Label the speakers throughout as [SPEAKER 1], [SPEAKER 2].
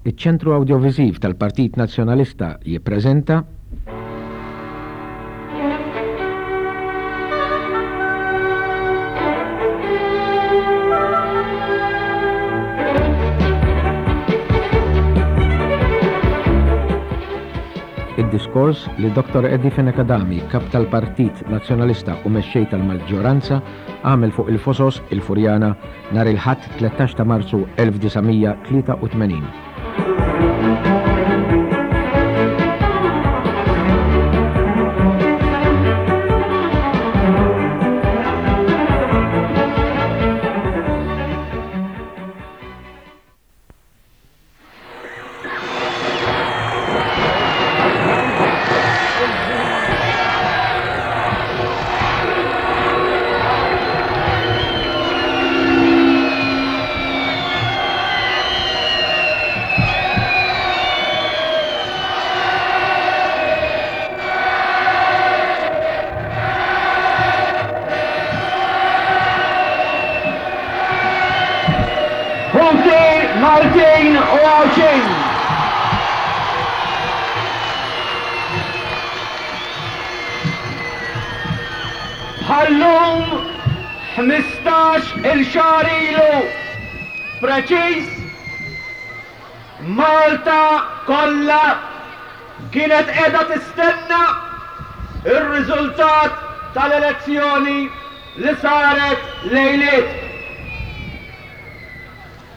[SPEAKER 1] Iċ-Ċentru Awdjoviżiv tal-Partit Nazzjonalista jippreżenta. Id-diskors li Dottor Eddie Fenech Adami, Kap tal-Partit Nazzjonalista u Mexxej tal-Maġġoranza, għamel fuq il-Fosos, il-Furjana, nhar il-Ħadd 13 ta' Marzu 1983.
[SPEAKER 2] Ħuti Maltin u Għawdxin! Bħal-lum 15 il xahar ilu preċiż, Malta kollha kienet qiegħda tistenna r-riżultat tal-elezzjoni li saret lejliet.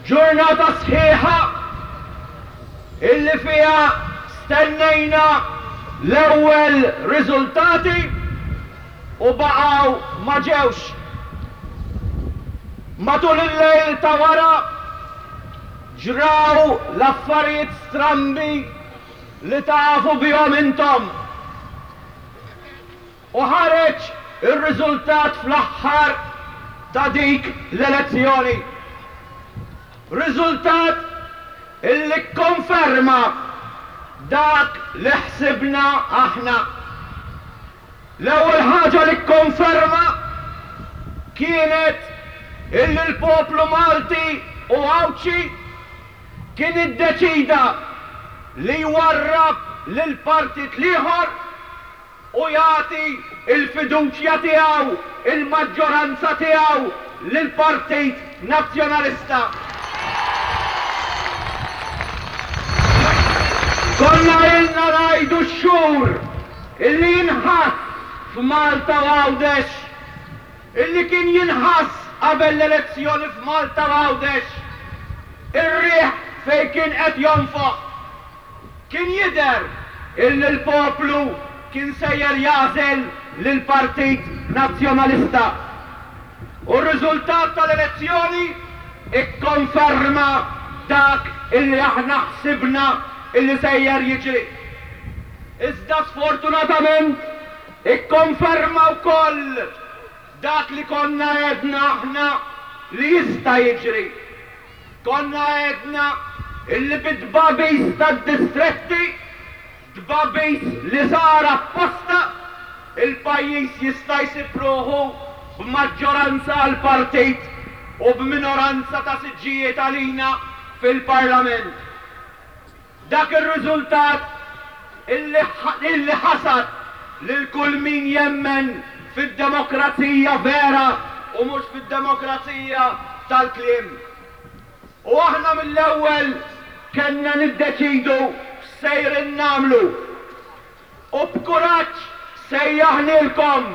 [SPEAKER 2] Ġurnata sħiħa illi fiha stennejna l-ewwel riżultati u baqgħu ma ġewx. Matul il-lejl ta' wara ġraw l-affarijiet strambi li tafu bihom intom. U ħareġ ir-riżultat fl-aħħar ta' dik l-elezzjoni. Riżultat illi kkonferma dak li ħsibna aħna. L-ewwel ħaġa li kkonferma kienet illi l-poplu Malti u Għawdxi kien iddeċida li jwarrab lill-partit l-ieħor u jagħti l-fiduċja tiegħu, il-maġġoranza tiegħu lill-Partit Nazzjonalista. Konna ilna ngħidu x-xhur illi jinħass f'Malta u Għawdex, illi kien jinħass qabel l-elezzjoni f'Malta u Għawdex, ir-riħ fejn kien qed jonfoħ. Kien jidher illi l-poplu kien sejjer jagħżel lill-Partit Nazzjonalista. U r-riżultat tal-elezzjoni ikkonferma dak illi aħna ħsibna illi sejjer jiġri. Iżda sfortunatament ikkonferma wkoll dak li konna għedna aħna li jista' jiġri. Konna għedna illi bit-tbagħbis tad-distretti, tbagħbis li sar apposta, il-pajjiż jista' jsib ruħu b'maġġoranza għal partit u b'minoranza ta' siġġijiet għalina fil-Parlament. Dak ir-riżultat illi illi ħasad lil kull min jemmen fid-demokrazija vera u mhux fid-demokrazija tal-kliem. U aħna mill-ewwel kellna niddeċidu x'sejrin nagħmlu. U b'kuraġġ sejjaħnielkom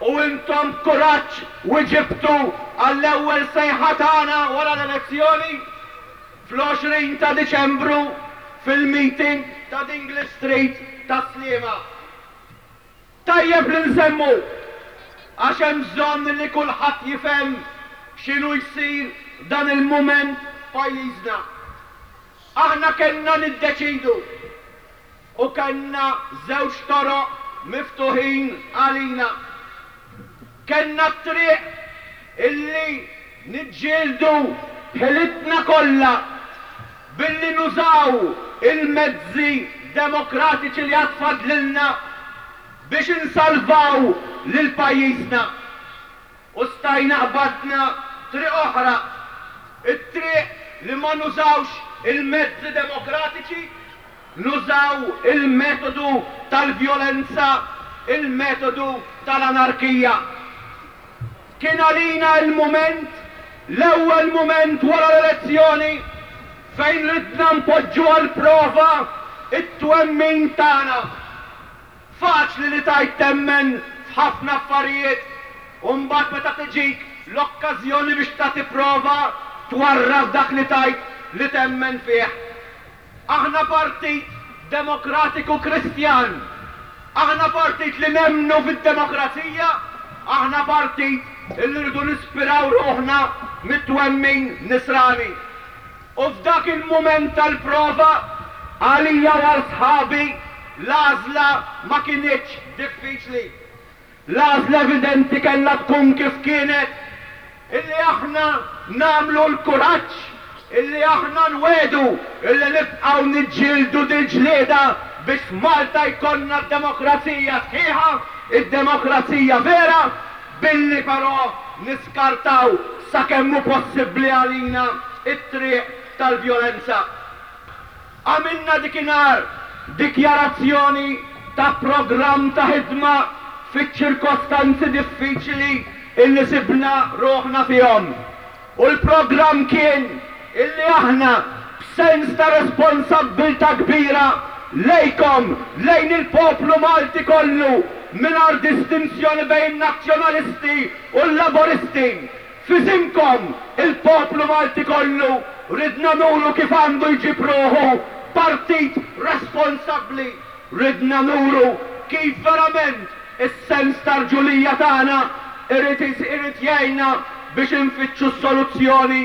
[SPEAKER 2] u intom b'kuraġġ wiġibtu għall-ewwel sejħa tagħna wara l-elezzjoni fl-20 ta' Diċembru fil-meeting ta' Dingley Street tas-Sliema. Tajjeb li nsemmu, għax hemm bżonn li kulħadd jifhem x'inhu jsir f'dan il-mument f'pajjiżna. Aħna kellna niddeċidu U kellna żewġ toroq miftuħin għalina. Kellna t-triq illi niġġieldu b'ħilitna kollha billi nużaw il-mezzi demokratiċi li għad fadlilna biex insalvaw lil pajjiżna. U stajna qbadna triq oħra, it-triq li ma nużawx il-mezzi demokratiċi, nużaw il-metodu tal-vjolenza, il-metodu tal-anarkija. Kien għalina l-mument, l-ewwel mument wara l-elezzjoni fejn ridna npoġġu għall-prova t-twemmin tagħna. Faċli li tgħid temmen f'ħafna affarijiet u mbagħad meta tiġik l-okkażjoni biex tagħti prova twarrab dak li tgħid li temmen fih. Aħna partit demokratiku Kristjan. Aħna partit li nemmnu fid-demokrazija. Aħna partit li rridu nispiraw ruħna mit-twemmin Nisrani. U f'dak il-mument tal-prova, għalija u għal sħabi, l-għażla ma kinitx diffiċli. L-għażla evidenti kellha tkun kif kienet, illi aħna nagħmlu l-kuraġġ illi aħna nwiegħdu illi nibqgħu niġġieldu dil-ġlieda biex f'Malta jkollna d-demokrazija sħiħa, id-demokrazija vera, billi però niskartaw sakemm hu possibbli għalina t-triq tal-vjolenza. Għamilna dikinhar dikjarazzjoni ta' programm ta' ħidma fiċ-ċirkostanzi diffiċili illi sibna ruħna fihom. U l-programm kien illi aħna b'sens ta' responsabbiltà kbira lejkom, lejn il-poplu Malti kollu, mingħajr distinzjoni bejn Nazzjonalisti u l-Laburisti, F'isimkom, il-poplu Malti kollu, ridna nuru kif għandu jġib ruħu partit responsabbli. Ridna nuru kif verament is-sens ta' rġulija tagħna irid irid jgħinna biex infittxu s-soluzzjoni,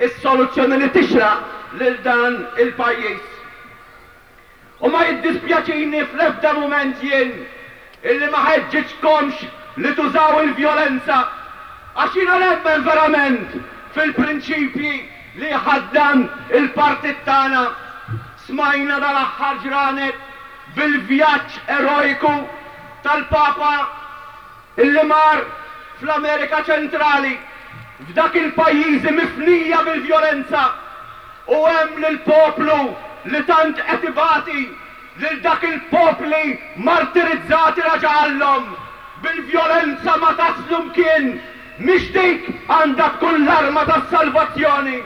[SPEAKER 2] is-soluzzjoni li tixraq lil dan il-pajjiż. U ma jiddispjaċini fl-ebda mument jien illi ma ħeġġiġtkomx li tużaw il-vjolenza, għax jiena nemmen verament fil-prinċipji li jħaddan il-partit tagħna. Smajna dal-aħħar ġranet bil-vjaġġ erojku tal-Papa Illi mar fl-Amerika Ċentrali, f'dak il-pajjiżi mifnija bil-vjolenza, u hemm lill-poplu li tant qed ibati, lil dak il-popli martirizzati raġa' qallhom, bil-vjolenza ma taslu mkien, mhix dik għandha tkun l-arma tas-salvazzjoni.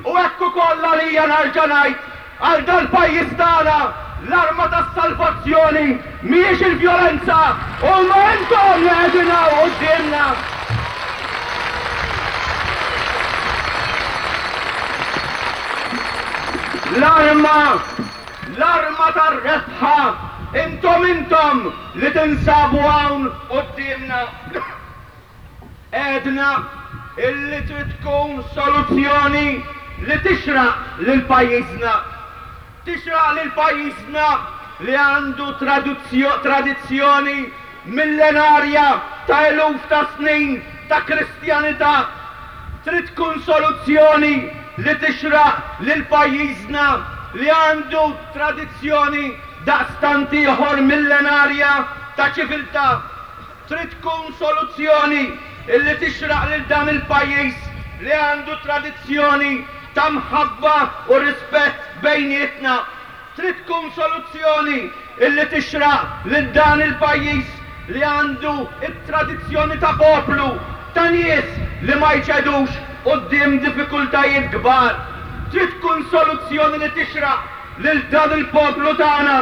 [SPEAKER 2] U hekk ukoll għalija narġa' ngħid, Għal dal-pajjiż tagħna, l-arma tas-salvazzjoni mhijiex il-vjolenza, huma intom li qegħdin hawn quddiemna. L-arma, l-arma tar-rebħa intom intom li tinsabu hawn quddiemna. Għedna illi trid tkun soluzzjoni li tixraq lil pajjiżna. Tixraq lil pajjiżna li għandu tradizzjoni millenarja ta' eluf ta' snin ta' Kristjanità. Trid tkun soluzzjoni li tixraq lil pajjiżna li għandu tradizzjoni daqstant ieħor millenarja ta' ċiviltà. Trid tkun soluzzjoni li tixraq lil dan il-pajjiż li għandu tradizzjoni ta' mħabba u rispett bejnietna. Trid tkun soluzzjoni li tixraq lil dan il-pajjiż li għandu t-tradizzjoni ta' poplu, ta' nies li ma jċedux quddiem diffikultajiet kbar. Trid tkun soluzzjoni li tixraq lil dan il-poplu tagħna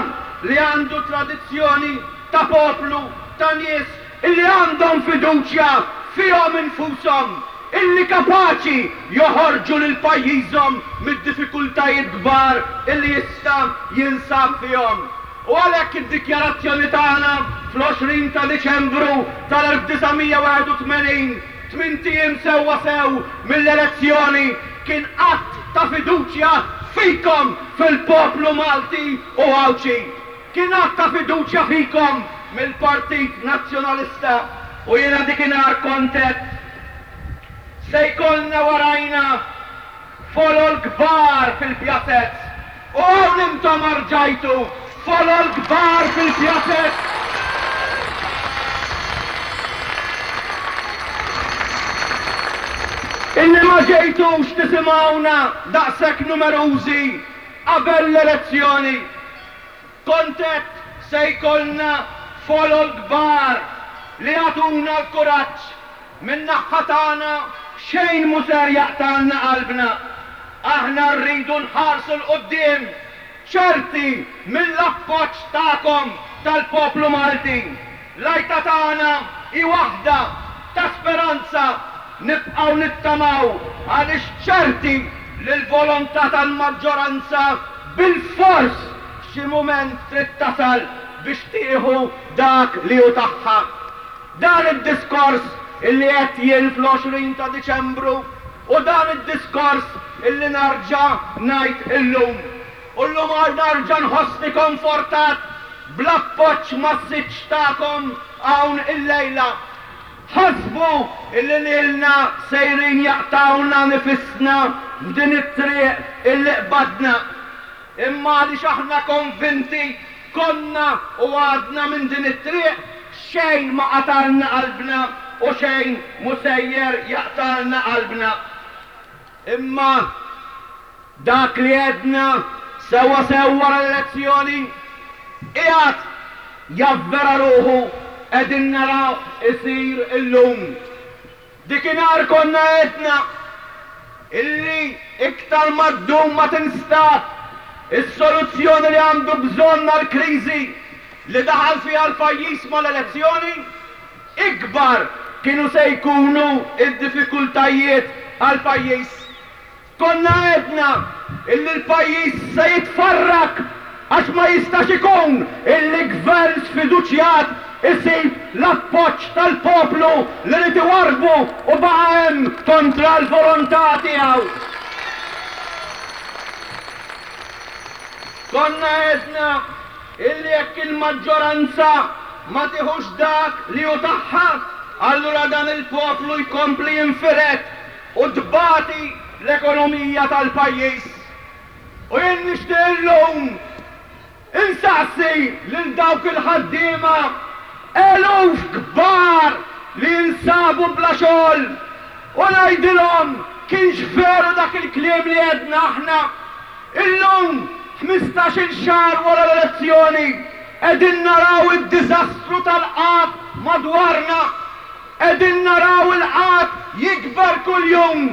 [SPEAKER 2] li għandu tradizzjoni ta' poplu, ta' nies illi għandhom fiduċja fihom infushom, illi kapaċi joħorġu lil pajjiżhom mid-diffikultajiet kbar illi issa jinsab fihom. U għalhekk id-dikjarazzjoni tagħna fl-20 ta' Diċembru tal-1981, tmint ijiem sewwa sew mill-elezzjoni, kien att ta' fiduċja fikom, fil-poplu Malti u Għawdxi. Kien att ta' fiduċja fikom mill-Partit Nazzjonalista u jiena dikinhar kont għedt, Se jkollna warajna folol kbar fil-pjazez. U hawn intom arġajtu, folol kbar fil-pjazez! Illi ma ġejtux tisimgħuna daqshekk numerużi. qabel l-elezzjoni. Kont għedt se jkollna folol kbar li jagħtuna l-kuraġġ. Min-naħha tagħna xejn mhu ser jaqtgħalna qalbna. Aħna rridu nħarsu 'l quddiem ċerti mill-appoġġ tagħkom tal-poplu Malti. L-għajta tagħna hi waħda ta' speranza, nibqgħu nittamaw għaliex ċerti li l-volontà tal-maġġoranza bilfors f'xi mument trid tasal biex tieħu dak li hu tagħha. Dan id-diskors illi għedt jien fl-20 ta' Diċembru u dan id-diskors illi narġa' ngħid illum. U llum nerġa' nħossni konfortat bl-appoġġ massiċċ tagħkom hawn illejla. Ħasbu illi lilna sejrin jaqtgħulna nifisna f'din it-triq illi qbadna. Imma għaliex aħna konvinti konna u għadna minn din it-triq, xejn ma qatgħalna qalbna u xejn mhu sejjer jaqtgħalna qalbna. Imma dak li għedna sewwa sew wara l-elezzjoni qiegħed javvera ruħu qegħdin narawh isir illum. Dikinhar konna għedna illi iktar ma ddum ma tinstab is-soluzzjoni li għandu bżonn għall-kriżi li daħal fiha l-pajjiż mal-elezzjoni, ikbar kienu se jkunu d-diffikultajiet għall-pajjiż. Konna għedna illi l-pajjiż se jitfarrak għax ma jistax ikun illi gvern sfiduċjat isib l-appoġġ tal-poplu li ried iwarrbu u baqa' hemm kontra l-volontà tiegħu. Konna għedna illi jekk il-maġġoranza ma tiħux dak li hu tagħha, allura dan il-poplu jkompli jinfired u tbati l-ekonomija tal-pajjiż. U jien nixtieq illum insaqsi lil dawk il-ħaddiema eluf kbar li jinsabu bla xogħol u ngħidilhom kienx veru dak il-kliem li għedna aħna. Illum, ħmistax-il xahar wara l-elezzjoni, qegħdin naraw id-diżastru tal-qgħad madwarna. Qegħdin naraw il-qgħad jikber kuljum.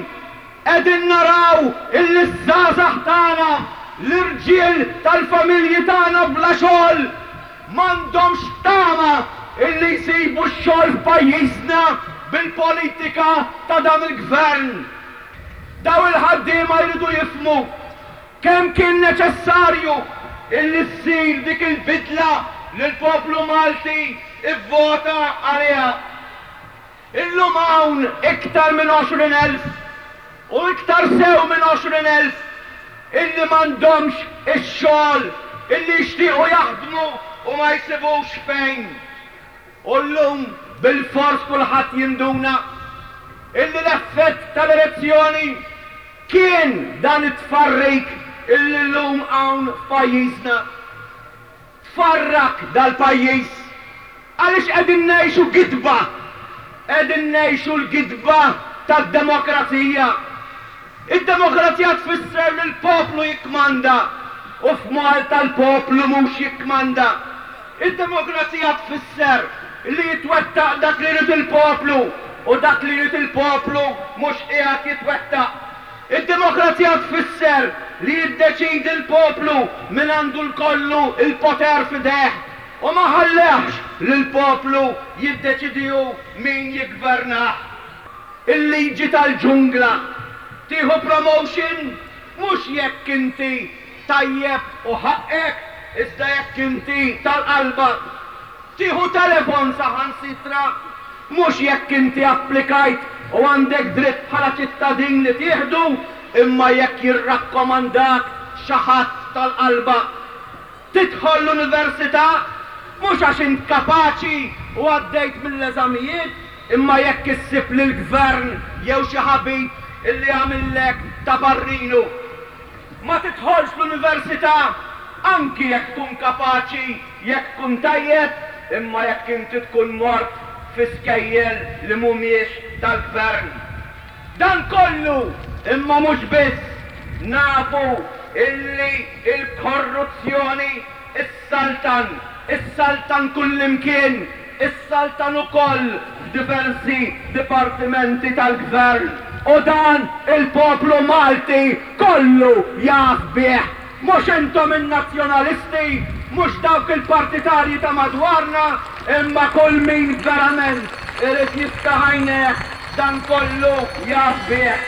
[SPEAKER 2] Qegħdin naraw illi ż-żgħażagħ tagħna, l-irġiel tal-familji tagħna bla xogħol, m'għandhomx tama illi jsibu x-xogħol f'pajjiżna bil-politika ta' dan il-Gvern. Dawn il-ħaddiema jridu jifhmu kemm kien neċessarju illi ssir dik il-bidla li l-poplu Malti ivvota għaliha. Illum hawn iktar minn 20,000, u iktar sew minn 20,000, illi m'għandhomx ix-xogħol, illi jixtiequ jaħdmu u ma jsibux fejn. U llum bilfors kulħadd jinduna illi l-effett tal-elezzjoni kien dan it-tfarrik illi llum hawn f'pajjiżna. Tfarrak dal-pajjiż għaliex qegħdin ngħixu gidba. Qegħdin ngħixu l-gidba tad-demokrazija. Id-demokrazija tfisser li l-poplu jikkmanda u f'Malta l-poplu mhux jikkmanda. Id-demokrazija tfisser li jitwettaq dak li jrid il-poplu u dak li jrid il-poplu mhux qiegħed jitwettaq. Id-demokrazija tfisser li jiddeċiedi l-poplu min għandu l-kollu l-poter f'idejh u ma ħallehx lill-poplu jiddeċiedi hu min jiggvernah. Il-liġi tal-ġungla. Tieħu promotion mhux jekk inti tajjeb u ħaqqek iżda jekk inti tal-qalba. Tieħu telefon saħansitra mhux jekk inti applikajt u għandek dritt bħala ċittadin li tieħdu imma jekk jirrakkomandak xi ħadd tal-qalba. Tidħol l-università mhux għax int kapaċi u għaddejt mill-eżamijiet imma jekk issib lill-gvern jew xi ħabib illi għamillek ta' parrinu. Ma tidħolx l-università anki jekk tkun kapaċi, jekk tkun tajjeb, imma jekk inti tkun mort fi skejjel li mhumiex tal-gvern. Dan kollu, imma mhux biss, nafu. illi l-korruzzjoni ssaltan, issaltan kullimkien, issaltan ukoll f'diversi dipartimenti tal-Gvern u dan il-poplu Malti kollu jaf bih. Mhux intom in-Nazzjonalisti, mhux dawk il-partitarji ta' madwarna, imma kull min verament irid jiftaħ għajnejh dan kollu jaf bih.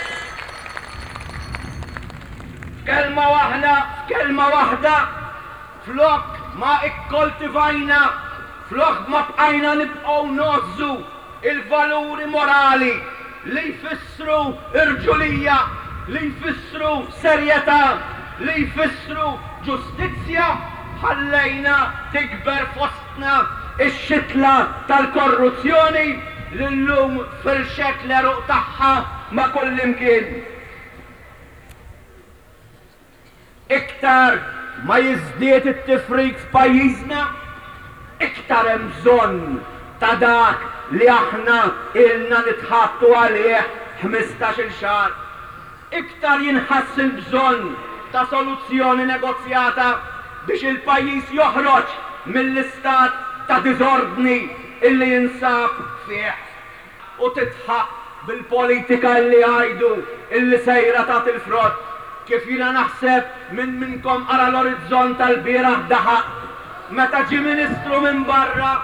[SPEAKER 2] F'kelma waħda, f'kelma waħda, flok ma ikkoltivajna, flok ma bqajna nibqgħu ngħożżu il-valuri morali li jfissru rġulija, li jfissru serjetà, li jfissru ġustizzja, ħallejna tikber fostna x-xitla tal-korruzzjoni li llum firxet l-għeruq tagħha ma' kullimkien. Iktar ma jiżdied it-tifrik f'pajjiżna, iktar hemm bżonn ta' dak li aħna ilna nitħabtu għalih ħmistax-il xahar. Iktar jinħass il-bżonn ta' soluzzjoni negozjata biex il-pajjiż joħroġ mill-istat ta' diżordni illi jinsab fih. U tidħaq bil-politika illi jgħidu illi sejra tagħti l-frott. Kif jiena naħseb min minnkom qara l-Orizzont tal-bieraħ daħaq meta ġie ministru minn barra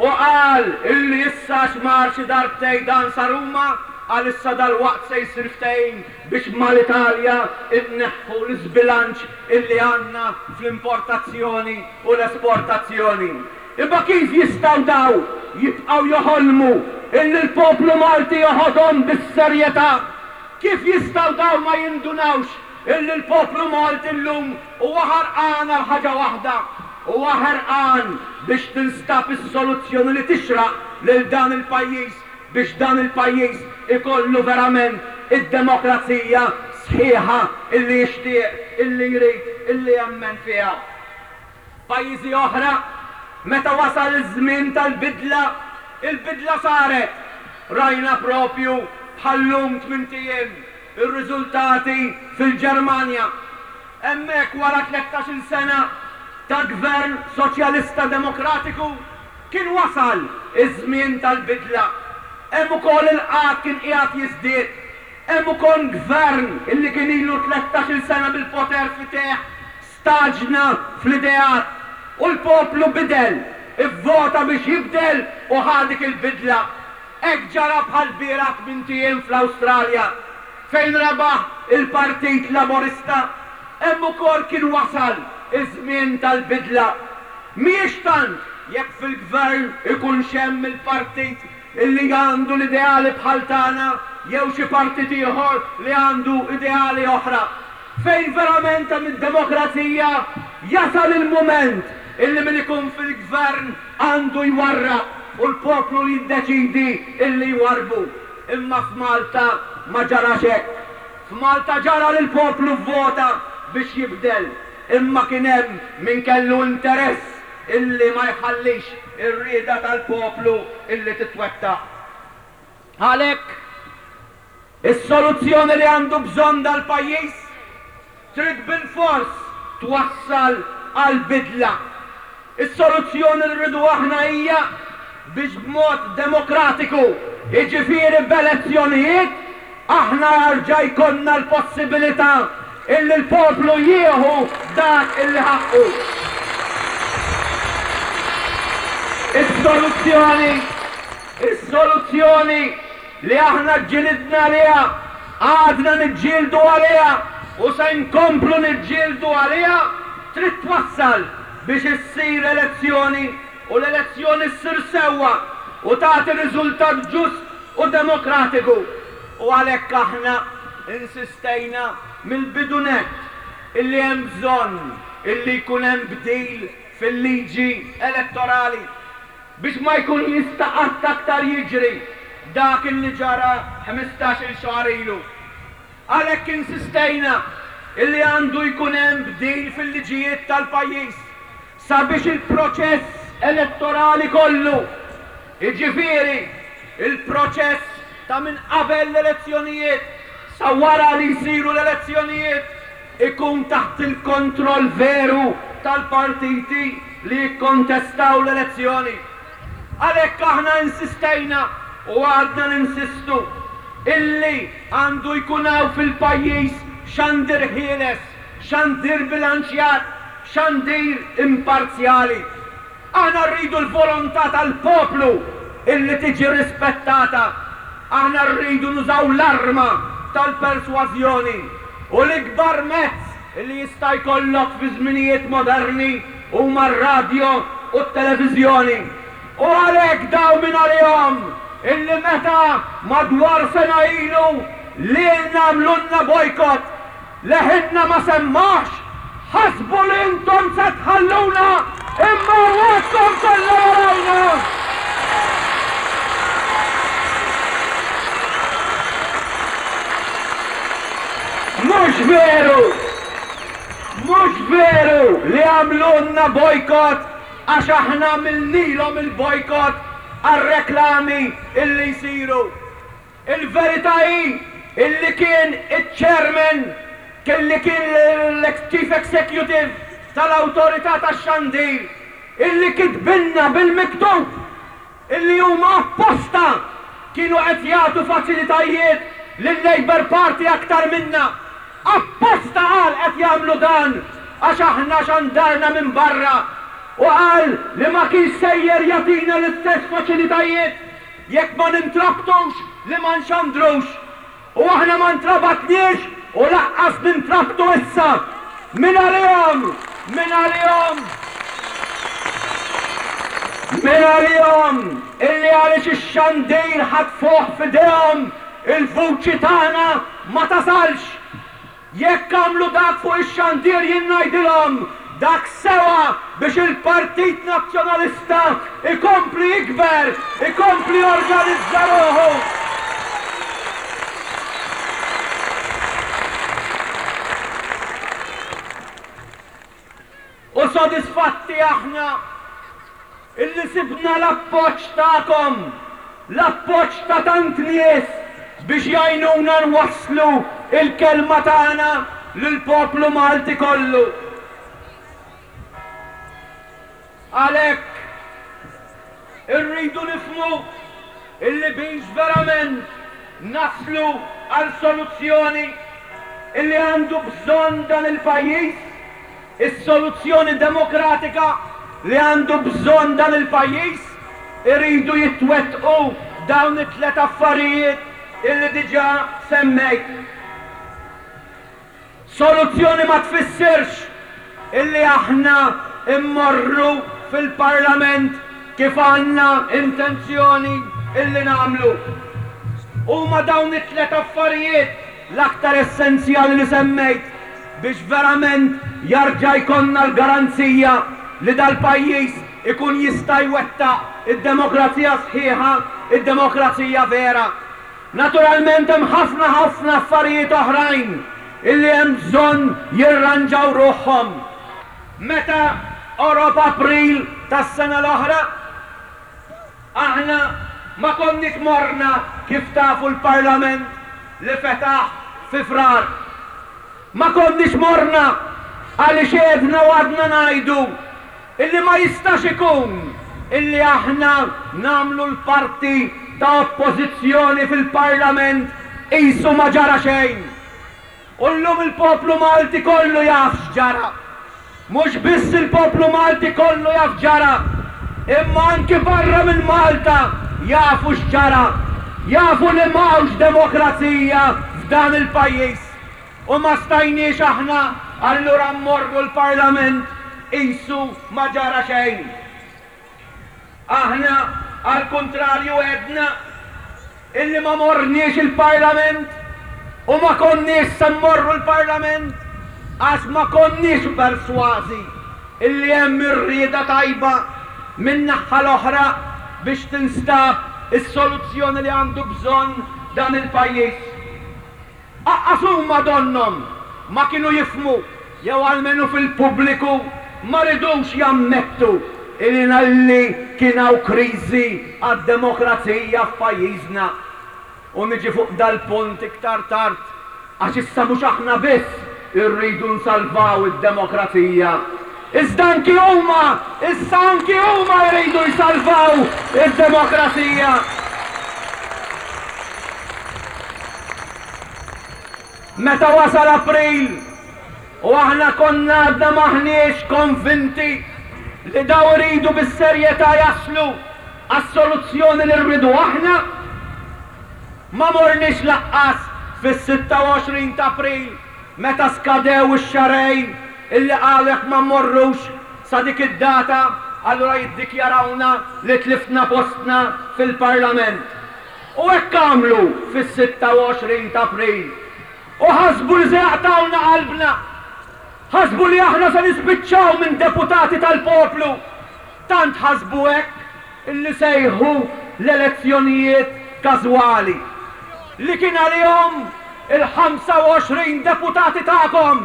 [SPEAKER 2] u qal illi issa għax mar xi darbtejn dan sa Ruma qal issa dalwaqt se jsir ftehim biex mal-Italja nneħħu l-iżbilanċ illi għandna fl-importazzjoni u l-esportazzjoni. Imma kif jistgħu daw jibqgħu joħolmu illi l-poplu Malti joħodhom bis-serjetà? Kif jistgħu daw ma jindunawx illi l-poplu Malti llum huwa ħarqan għal ħaġa waħda, huwa ħerqan biex tinstab is-soluzzjoni li tixraq lil dan il-pajjiż biex dan il-pajjiż ikollu verament id-demokrazija sħiħa illi jixtieq, illi jrid, illi jemmen fiha. F'pajjiżi oħra, meta wasal iż-żmien tal-bidla, il-bidla saret. Rajna proprju bħal-lum tmint ijiem ir-riżultati fil-Ġermanja. Hemmhekk wara tlettax-il sena ta' gvern Soċjalista Demokratiku kien wasal iż-żmien tal-bidla. Hemm ukoll il-qgħad kien qiegħed jiżdied. Hemm ukoll gvern illi kien ilu tlettax-il sena bil-poter f'idejh Stagħġna fl-ideat u l-poplu bidel, ivvota biex jibdel u ħa dik il-bidla. Hekk ġara bħall-bieraħ tmint ijiem fl-Awstralja, fejn rebaħ il-Partit Laburista. Hemm ukoll kien wasal iż-żmien tal-bidla. Mhijiex tant jekk fil-gvern ikunx hemm il-partit illi għandu l-ideali bħal tagħna jew xi partit ieħor li għandu ideali oħra. Fejn verament hemm id-demokrazija, jasal il-mument illi min ikun fil-gvern għandu jwarrab u l-poplu li jiddeċidi illi jwarrbu. Imma f'Malta ma ġarax hekk. F'Malta ġara li l-poplu vvota biex jibdel, imma kien hemm min kellu interess illi ma jħallix ir-rieda tal-poplu illi titwettaq. Għalhekk, is-soluzzjoni li għandu bżonn dal-pajjiż trid bilfors twassal għal bidla. Is-soluzzjoni li rridu aħna hija biex b'mod demokratiku, jiġifieri b'elezzjonijiet, aħna jarġa' jkollna l-possibilità illi l-poplu jieħu dak illi ħaqqu. Is-soluzzjoni, is-soluzzjoni li aħna ġġilidna għaliha, għadna niġġieldu għaliha u se nkomplu niġġieldu għaliha, trid twassal biex issir elezzjoni u l-elezzjoni ssir sewwa u tagħti riżultat ġust u demokratiku. U għalhekk aħna insistejna mill-bidu nett illi hemm bżonn illi jkun hemm bdil fil-liġi elettorali biex ma jkun jista' qatt aktar jiġri dak illi ġara ħmistax-il xahar ilu. Għalhekk insistejna illi għandu jkun hemm bdil fil-liġijiet tal-pajjiż sabiex il-proċess elettorali kollu, jiġifieri l-proċess ta' minn qabel l-elezzjonijiet sa wara li jsiru l-elezzjonijiet, ikun taħt il-kontroll veru tal-partiti li jikkontestaw l-elezzjoni. Għalhekk aħna insistejna u għadna ninsistu illi għandu jkun hawn fil-pajjiż xandir ħieles, xandir bilanċjat, xandir imparzjali. Aħna rridu l-volontà tal-poplu illi tiġi rispettata. Aħna rridu nużaw l-arma tal-persważjoni u l-ikbar mezz illi jista' jkollok fi żminijiet moderni huma r-radjo u t-televiżjoni. U għalhekk dawn mingħalihom illi meta madwar sena ilu lilna għamlulna bojkott, Leħinna ma semmahx, ħasbu li intom se tħalluna imma rwaskom kollha warajna! Mhux veru! Mhux veru li għamlulna bojkott għax aħna għamilnilhom il-bojkott għar-reklami illi jsiru. Il-verità hi illi kien iċ-Chairman, illi kien l-Chief Executive tal-Awtorità tax-Xandir illi kitbilna bil-miktub illi huma apposta kienu qed jagħtu faċilitajiet lil-Labour Party aktar minna. Apposta qal qed jagħmlu dan għax aħna xandarna minn barra u qal li ma kienx sejjer jagħtina l-istess faċilitajiet Jekk ma nintrabtux li ma nxandrux. U aħna ma ntrabatniex u laqqas nintrabtu issa. Mingħalihom! Mingħalihom! Mingħalihom illi għaliex ix-xandir ħatfuh f'idejhom il-vuċi tagħna ma tasalx. Jekk għamlu dak fuq ix-xandir jien ngħidilhom dak sewa biex il-Partit Nazzjonalista jkompli jikber, ikompli jorganizza ruħu. U sodisfatti aħna illi sibna l-appoġġ tagħkom, l-appoġġ ta' tant nies biex jgħinuna nwasslu l-kelma tagħna lill-poplu Malti kollu. Għalhekk, irridu nifhmu illi biex verament naslu għal soluzzjoni illi għandu bżonn dan il-pajjiż, is-soluzzjoni demokratika li għandu bżonn dan il-pajjiż, iridu jitwettqu dawn it-tliet affarijiet illi diġà semmejt. Soluzzjoni ma tfissirx illi aħna mmorru fil-Parlament kif għandna intenzjoni illi nagħmlu. Huma dawn it-tliet affarijiet l-aktar essenzjali li semmejt biex verament jarġa' jkollna l-garanzija li dal-pajjiż ikun jista' jwettaq id-demokrazija sħiħa, id-demokrazija vera. Naturalment hemm ħafna ħafna affarijiet oħrajn illi hemm bżonn jirranġaw ruħhom. Meta qorob April tas-sena l-oħra, aħna ma konniex morna kif tafu l-Parlament li fetaħ fi Frar. Ma konniex morna għaliex għedna u għadna ngħidu illi ma jistax ikun illi aħna nagħmlu l-parti ta' oppożizzjoni fil-Parlament qisu ma ġara xejn. U llum il-poplu Malti kollu jaf x'ġara. Mhux biss il-poplu Malti kollu jaf ġara, imma anki barra minn Malta jafu x'ġara. Jafu li m'hawnx demokrazija f'dan il-pajjiż. U ma stajniex aħna allura mmorru l-Parlament qisu ma ġara xejn. Aħna għall-kuntrarju għedna illi ma morniex il-Parlament u ma konniex se mmorru l-Parlament għax ma konniex persważi illi hemm ir-rieda tajba min-naħha l-oħra biex tinstab is-soluzzjoni li għandu bżonn dan il-pajjiż. Aqqas huma donnhom ma kienu jifhmu jew almenu fil-pubbliku ma ridux jammettu illi kien hawn kriżi għad-demokrazija f'pajjiżna. U niġi fuq dal-punt iktar tard għax issa mhux aħna biss. irridu nsalvaw id-demokrazija. Iżda anki huma, issa anki huma jridu jsalvaw id-demokrazija. Meta wasal April u aħna konna għadna m'aħniex konvinti li dawn iridu bis-serjetà jaslu għas-soluzzjoni li rridu aħna, ma morniex laqqas fis-26 t'April meta skadew ix-xahrejn illi qalu jekk ma mmorrux sa dik id-data allura jiddikjarawna li tliftna postna fil-Parlament. U hekk għamlu fis-26 t'April. U ħasbu li se jaqtgħulna qalbna. Ħasbu li aħna se nispiċċaw minn deputati tal-poplu. Tant ħasbu hekk illi sejħu l-elezzjonijiet każwali. Li kien għalihom il-25 deputati tagħkom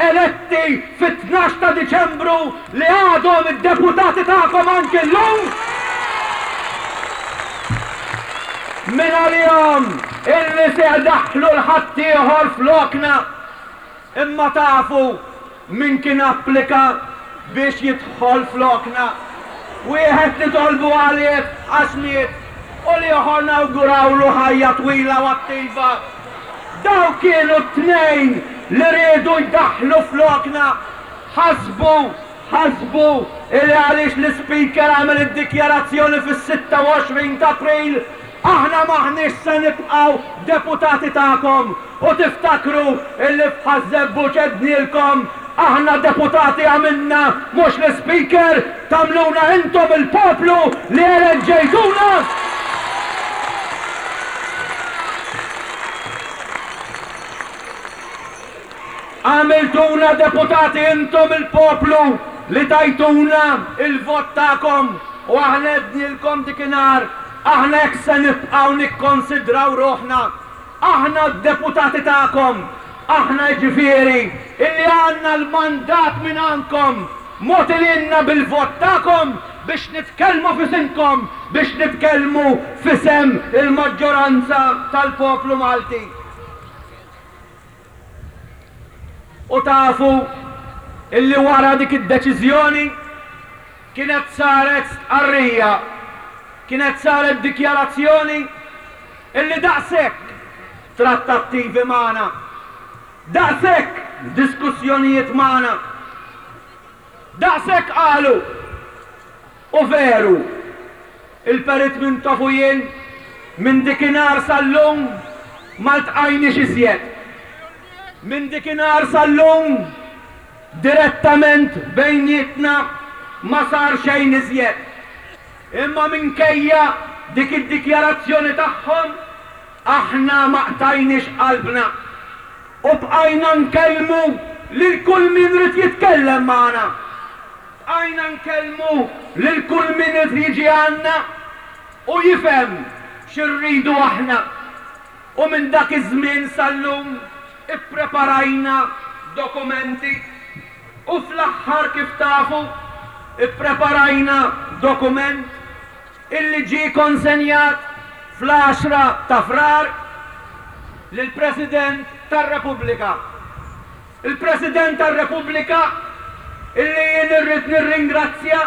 [SPEAKER 2] eletti fit-tnax ta' Diċembru li għadhom id-deputati tagħkom anki llum! Min għalihom illi se jdaħħlu 'l ħaddieħor flokna. Imma tafu min kien applika biex jidħol flokna? Wieħed nitolbu għalih għax miet u l-ieħor nawgurawlu ħajja twila u attiva. Dawk kienu t-tnejn li riedu jdaħħlu flokna. Ħasbu, ħasbu illi għaliex l-Ispeaker għamel id-dikjarazzjoni fis-26 t'April, aħna m'aħniex se nibqgħu deputati tagħkom. U tiftakru illi f'Ħaż-Żebbuġ għednielkom, aħna deputati għamilna mhux l-Ispeaker, tagħmluna intom il-poplu li eleġġejtuna! Għamiltuna deputati intom il-poplu li tajtuna il-vot tagħkom u aħna għednielkom dikinhar, aħna hekk se nibqgħu nikkonsidraw ruħna. Aħna d-deputati tagħkom, aħna jiġifieri illi għandna l-mandat mingħandkom, mogħti lilna bil-vot tagħkom biex nitkellmu f'isimkom, biex nitkellmu f'isem il-maġġoranza tal-poplu Malti. U tafu illi wara dik id-deċiżjoni kienet saret stqarrija, kienet saret dikjarazzjoni illi daqshekk trattattivi magħna, daqshekk diskussjonijiet magħna, daqshekk qalu U veru, il-Perit Mintoff u jien minn dikinhar sal-lum ma ltqajniex iżjed. Minn dikinhar sal-lum direttament bejnietna ma sar xejn iżjed. Imma minkejja dik id-dikjarazzjoni tagħhom, aħna ma qtajniex qalbna u bqajna nkellmu lil kull min ried jitkellem magħna. Bqajna nkellmu lil kull min irid jiġi għandna u jifhem xi rridu aħna. U minn dak iż-żmien sal-lum ippreparajna dokumenti u fl-aħħar kif tafu ippreparajna dokument illi ġie konsenjat fl-għaxra ta' Frar lill-President tar-Repubblika. Il-President tar-Repubblika, illi jien irrid nirringrazzja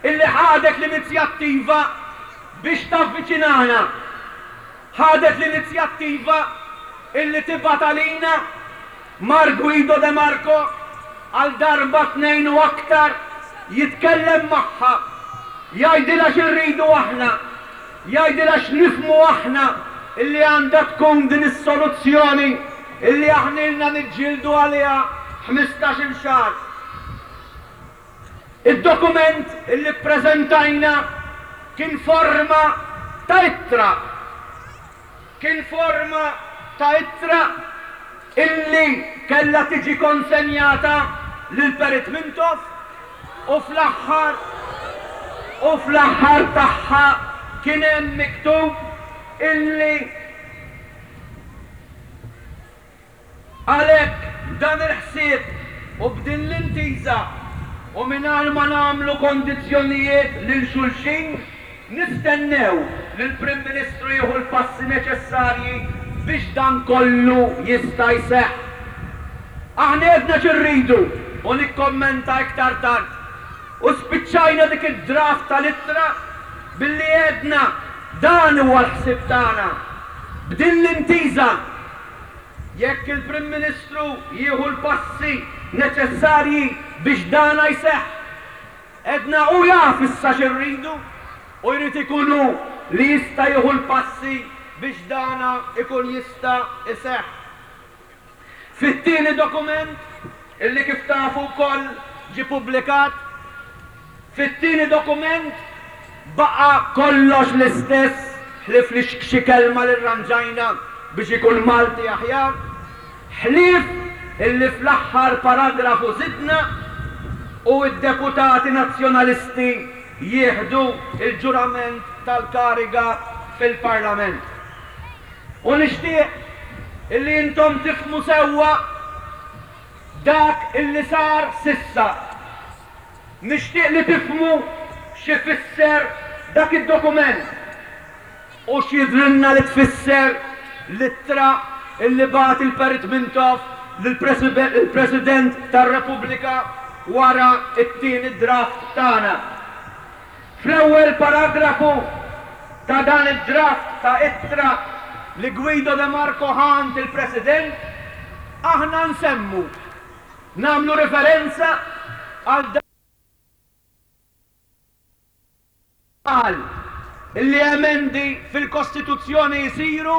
[SPEAKER 2] illi ħadet l-inizjattiva biex tavviċinana, ħadet l-inizjattiva illi tibgħat għalina mar Guido de Marco għal darba, tnejn u aktar jitkellem magħha, jgħidilha x'irridu aħna, jgħidilha x'nifhmu aħna illi għandha tkun din is-soluzzjoni illi aħna ilna niġġieldu għaliha ħmistax-il xahar. Id-dokument illi ppreżentajna kien forma ta' ittra. Kien forma ta' ittra illi kellha tiġi konsenjata lil Perit Mintoff u fl-aħħar u fl-aħħar tagħha kien hemm miktub illi Għalhekk, b'dan il-ħsieb u b'din l-intiża, u mingħajr ma nagħmlu kondizzjonijiet lil xulxin, nistennew li l-Prim Ministru jieħu l-passi neċessarji biex dan kollu jista' jseħħ. Aħna għedna xi rridu u nikkommenta iktar tard. U spiċċajna dik id-draft tal-ittra billi għedna dan huwa l-ħsieb tagħna. B'din l-intiża, jekk il-Prim Ministru jieħu l-passi neċessarji biex dana jseħħ, għedna hu jaf issa xi rridu u jrid ikun hu li jista' jieħu l-passi biex dana jkun jista' jseħħ. Fit-tieni dokument, illi kif tafu wkoll ġie pubblikat, fit-tieni dokument baqa' kollox l-istess ħlief li xi kelma li rranġajna biex ikun Malti aħjar, ħlief illi fl-aħħar paragrafu żidna u d-deputati Nazzjonalisti jieħdu l-ġurament tal-kariga fil-Parlament. U nixtieq illi intom tifhmu sewwa dak illi sar s'issa. Nixtieq li tifhmu x'ifisser dak id-dokument u x'jidhrilna li tfisser l-ittra illi bagħat il-Perit Mintoff lill-President tar-Repubblika wara t-tieni draft tagħna. Fl-ewwel paragrafu ta' dan id-draft ta' ittra li Guido de Marco ħa għand il-President, aħna nsemmu, nagħmlu riferenza għal dak qal illi emendi fil-Kostituzzjoni jsiru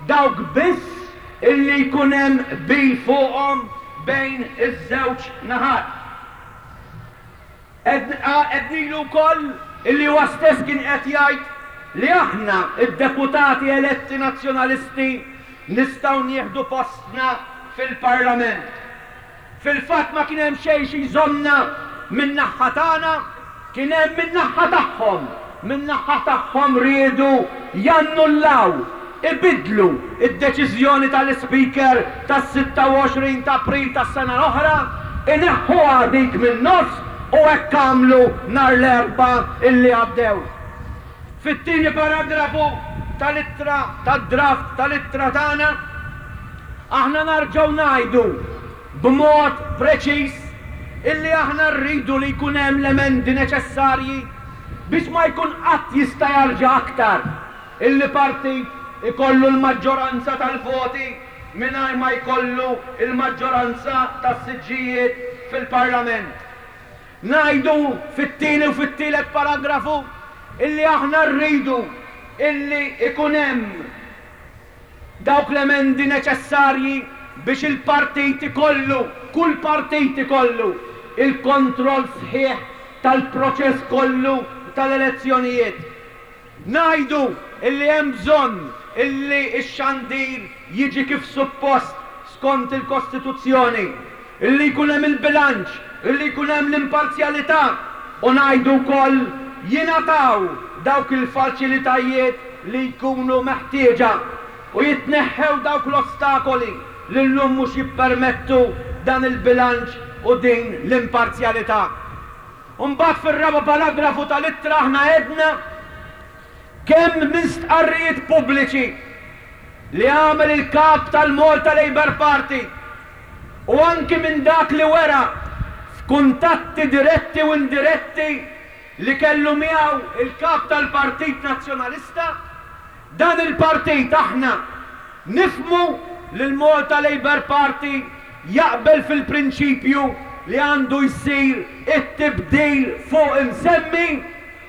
[SPEAKER 2] dawk biss illi jkun hemm qbil fuqhom bejn iż-żewġ naħat. Għednilu wkoll illi huwa stess kien qed jgħid li aħna, id-deputati eletti Nazzjonalisti, nistgħu nieħdu postna fil-Parlament. Fil-fatt ma kien hemm xejn xi jżommna min-naħha tagħna, kien hemm min-naħha tagħhom. Min-naħha tagħhom riedu jannullaw ibiddlu d-deċiżjoni tal-Ispeaker tas-26 ta' April tas-sena l-oħra, ineħħuha dik min-nofs u hekk għamlu nhar l-Erbgħa illi għaddew. Fit-tieni paragrafu tal-ittra tad-draft tal-ittra tagħna, aħna narġgħu ngħidu b'mod preċiż illi aħna rridu li jkun hemm l-emendi neċessarji biex ma jkun qatt jista' jarġa' aktar Illi partit ikollu l-maġġoranza tal-voti mingħajr ma jkollu l-maġġoranza tas-siġġijiet fil-Parlament. Ngħidu fit-tieni u fit-tielet paragrafu illi aħna rridu illi ikun hemm dawk l-emendi neċessarji biex il-partit ikollu, kull partit ikollu, il-kontroll sħiħ tal-proċess kollu tal-elezzjonijiet. Ngħidu illi hemm bżonn illi x-xandir jiġi kif suppost skont il-Kostituzzjoni, illi jkun hemm il-bilanċ, illi jkun hemm l-imparzjalità u ngħidu wkoll jingħataw dawk il-faċilitajiet li jkunu meħtieġa u jitneħħew dawk l-ostakoli li llum mhux jippermettu dan il-bilanċ u din l-imparzjalità. U mbagħad fir-raba' paragrafu tal-ittra aħna għedna kemm minn stqarrijiet pubbliċi li għamel il-Kap tal-Malta Labour Party u anki minn dak li wera f'kuntatti diretti u indiretti li kellu miegħu il-Kap tal-Partit Nazzjonalista, Dan il-partit aħna nifhmu li l-Malta Labour Party jaqbel fil-prinċipju li għandu jsir it-tibdil fuq imsemmi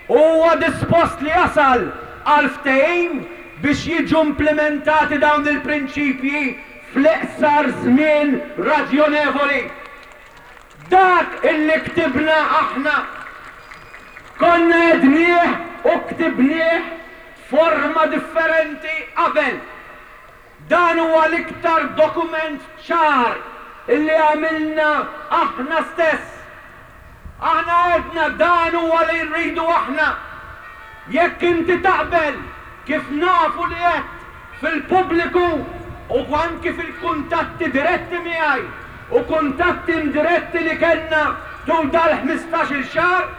[SPEAKER 2] u huwa dispost li jasal għal ftehim biex jiġu implimentati dawn il-prinċipji fl-iqsar żmien raġjonevoli. Dak illi ktibna aħna konna għednieh u ktibnieh f'forma differenti qabel. Dan huwa l-iktar dokument ċar illi għamilna aħna stess. Aħna għedna dan huwa li rridu aħna. Jekk inti taqbel, kif nafu li għedt fil-pubbliku u anki fil-kuntatti diretti miegħi u kuntatti indiretti li kellna tul dal-ħmistax-il xahar,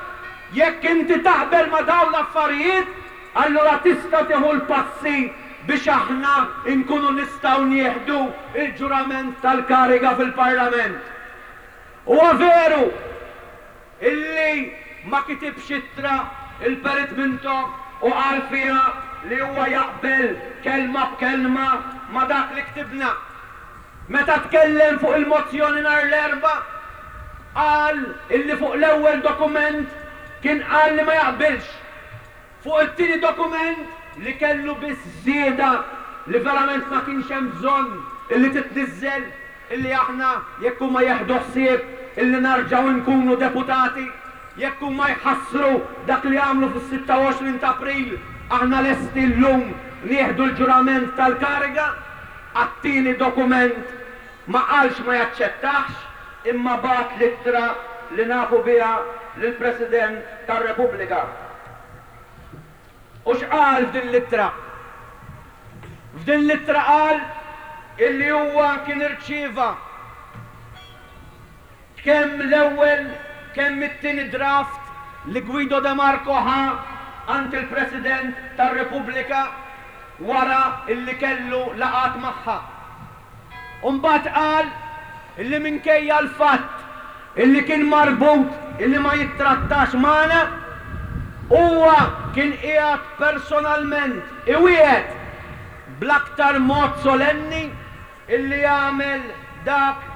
[SPEAKER 2] jekk inti taqbel ma' dawn l-affarijiet, allura tista' tieħu l-passi. biex aħna nkunu nistgħu nieħdu l-ġurament tal-kariga fil-Parlament. Huwa veru illi ma kitibx ittra il-Perit Mintoff u qal fiha li huwa jaqbel kelma b'kelma ma' dak li ktibna. Meta tkellem fuq il-mozzjoni nhar l-Erbgħa, qal illi fuq l-ewwel dokument kien qal li ma jaqbilx. Fuq it-tieni dokument li kellu biss żieda li verament ma kienx hemm bżonn illi titniżżel, illi aħna jekk huma jeħdu ħsieb illi narġgħu nkunu deputati, jekk huma jħassru dak li għamlu fis-26 ta' April, aħna lesti llum nieħdu l-ġurament tal-kariga. Għat-tieni dokument ma qalx ma jaċċettahx imma bagħat l-ittra li nafu biha lill-President tar-Repubblika. U x'qal f'din l-ittra? F'din l-ittra qal illi huwa kien irċieva kemm l-ewwel kemm it-tieni draft li Guido de Marco ħa għand il-President tar-Repubblika wara illi kellu laqgħat magħha. U mbagħad qal illi minkejja l-fatt illi kien marbut illi ma jittrattax magħna, huwa kien qiegħed personalment iwiegħed bl-aktar mod solenni illi jagħmel dak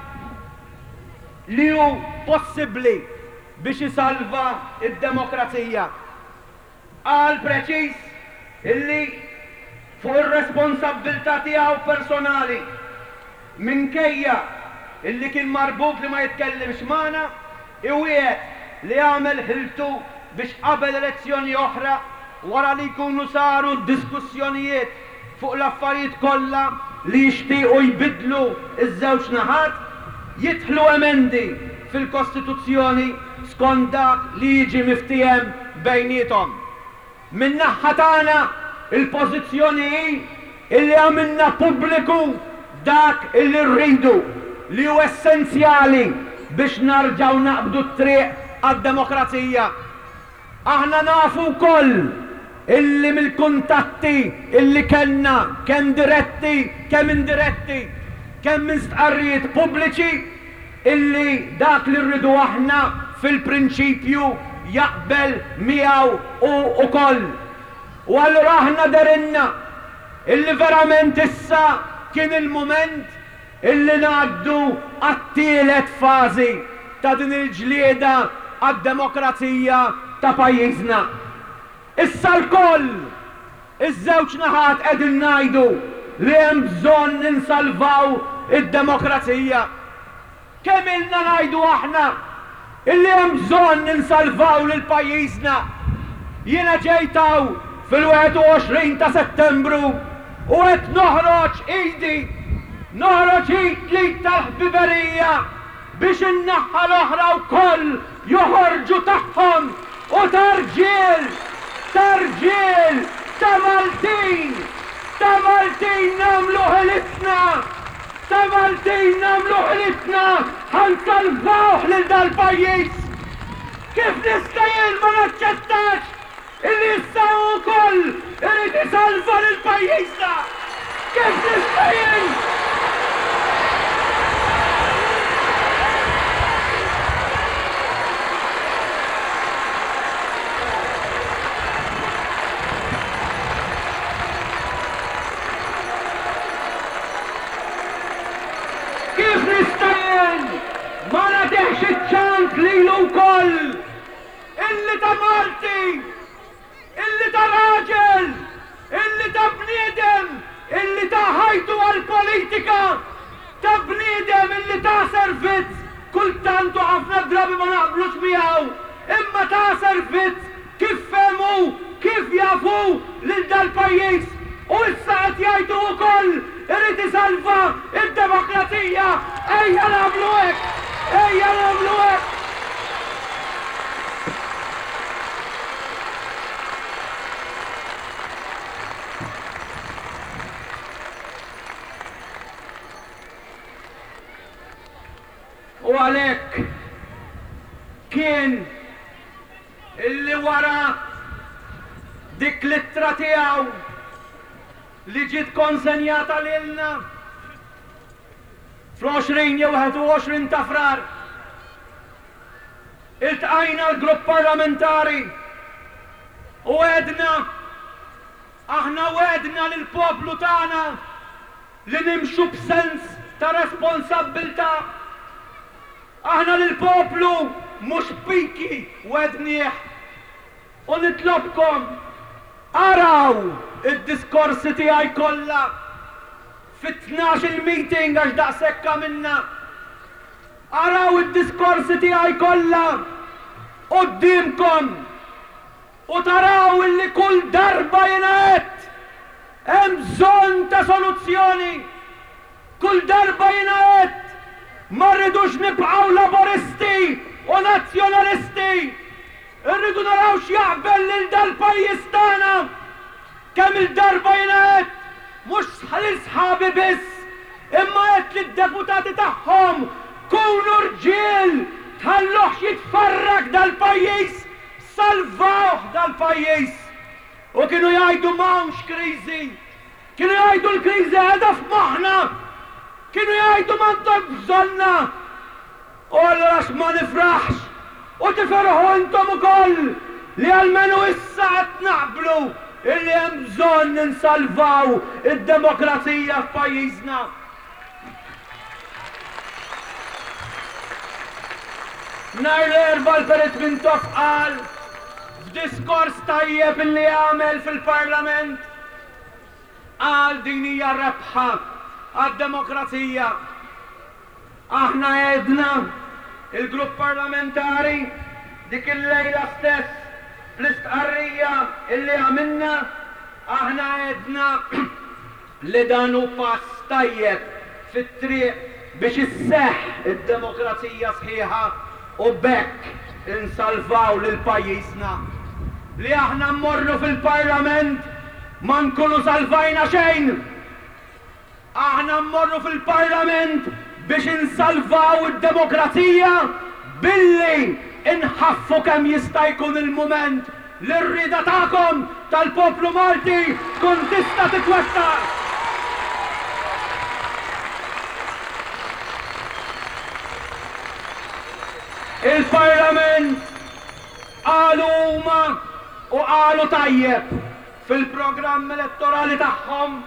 [SPEAKER 2] li hu possibbli biex isalva d-demokrazija. Qal preċiż illi fuq ir-responsabbiltà tiegħu personali, minkejja illi kien marbut li ma jitkellimx magħna, iwiegħed li jagħmel ħiltu biex qabel elezzjoni oħra, wara li jkunu saru d-diskussjonijiet fuq l-affarijiet kollha li jixtiequ jbiddlu ż-żewġ naħat, jidħlu emendi fil-Kostituzzjoni skont dak li jiġi miftiehem bejniethom. Min-naħha tagħna, il-pożizzjoni hi illi għamilna pubbliku dak illi rridu, li hu essenzjali biex narġgħu naqbdu t-triq għad-demokrazija. Aħna nafu wkoll illi mill-kuntatti illi kellna, kemm diretti, kemm indiretti, kemm minn stqarrijiet pubbliċi, illi dak li rridu aħna fil-prinċipju jaqbel miegħu hu wkoll. U allura aħna dehrilna illi verament issa kien il-mument Illi ngħaddu għat-tielet fażi ta' din il-ġlieda għad-demokrazija ta' pajjiżna. Issa lkoll, iż-żewġ naħat qegħdin ngħidu li hemm bżonn insalvaw id-demokrazija. Kemm ilna ngħidu aħna Illi hemm bżonn insalvaw lil pajjiżna. Jiena ġejt hawn fil-21 ta' Settembru u qed noħroġ idi, noħroġ id l-id tal-ħbiberija biex in-naħa l-oħra wkoll joħorġu tagħhom u ta' rġiel, ta' rġiel, ta' Maltin, ta' Maltin nagħmlu ħilitna. Ta' Maltin nagħmlu ħilitna ħa nsalvawh lil dal-pajjiż! Kif nista' jien ma naċċettax illi issa hu wkoll irid isalva lil pajjiżna? Kif nista' jien? Kif nista' jien ma nagħtihx iċ-ċans lilu wkoll, illi ta' Malti, illi ta' raġel, illi ta' bniedem illi ta ħajtu għall-politika, ta' bniedem illi ta servizz kultant u ħafna drabi ma naqblux miegħu, imma ta servizz Kif fehmu, kif jaf hu lil dal-pajjiż u issa qed jgħid hu wkoll irid isalva d-demokrazija. Ejja nagħmlu hekk! Ejja nagħmlu hekk! U għalhekk kien Illi wara dik l-ittra tiegħu. li ġiet konsenjata lilna fl-20 jew 21 ta' Frar. Iltqajna l-grupp parlamentari u għedna, aħna wegħdna lill-poplu tagħna li nimxu b'sens ta' responsabbiltà. Aħna lill-poplu mhux piki wegħdnieh. U nitlobkom, araw id-diskorsi tiegħi kollha fit-tnax-il meeting għax daqshekk għamilna. Araw id-diskorsi tiegħi kollha quddiemkom u taraw illi kull darba jiena għedt, hemm bżonn ta' soluzzjoni. Kull darba jiena għedt, ma rridux nibqgħu Laburisti u Nazzjonalisti. Irridu naraw x'jaqbel lil dal-pajjiż tagħna. Kemm-il darba jiena għedt, mhux lil sħabi biss, imma għedt lid-deputati tagħhom, kunu rġiel, tħalluhx jitfarrak dal-pajjiż, salvawh dal-pajjiż. U kienu jgħidu m'hawnx kriżi. Kienu jgħidu l-kriżi qiegħda f'moħħna. Kienu jgħidu m'għandhomx bżonnha. U allura x'ma nifraħx u tifirħu intom ukoll li almenu issa qed naqblu illi hemm bżonn insalvaw id-demokrazija f'pajjiżna. Nhar l-Erbgħa l-Perit Mintoff qal f'diskors tajjeb illi għamel fil-Parlament, qal din hija rebħa għad-demokrazija. Aħna għedna, il-Grupp Parlamentari, dik il-lejla stess fl-istqarrija illi għamilna, aħna għedna li dan hu pass tajjeb fit-triq biex isseħħ id-demokrazija sħiħa u b'hekk insalvaw lil pajjiżna. Li aħna mmorru fil-Parlament ma nkunu salvajna xejn! Aħna mmorru fil-Parlament biex insalvaw id-demokrazija billi nħaffu kemm jista' jkun il-mument li r-rieda tagħkom, tal-poplu Malti, tkun tista' titwettaq. Il-Parlament qalu huma u qalu tajjeb fil-programm elettorali tagħhom,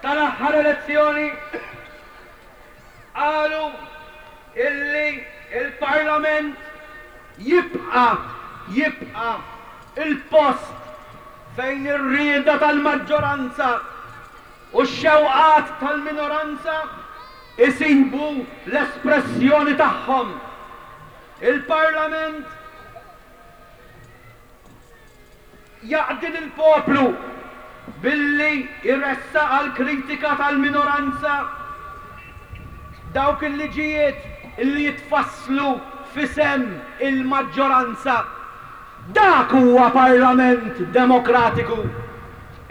[SPEAKER 2] Tal-aħħar elezzjoni qalu illi l-Parlament jibqa' jibqa' il-post fejn ir-rieda tal-maġġoranza u x-xewqat tal-minoranza jsibu l-espressjoni tagħhom. Il-Parlament Jaqdi lill-poplu billi jressaq għall-kritika tal-minoranza dawk il-liġijiet li jitfasslu f'isem il-maġġoranza. Dak huwa Parlament demokratiku.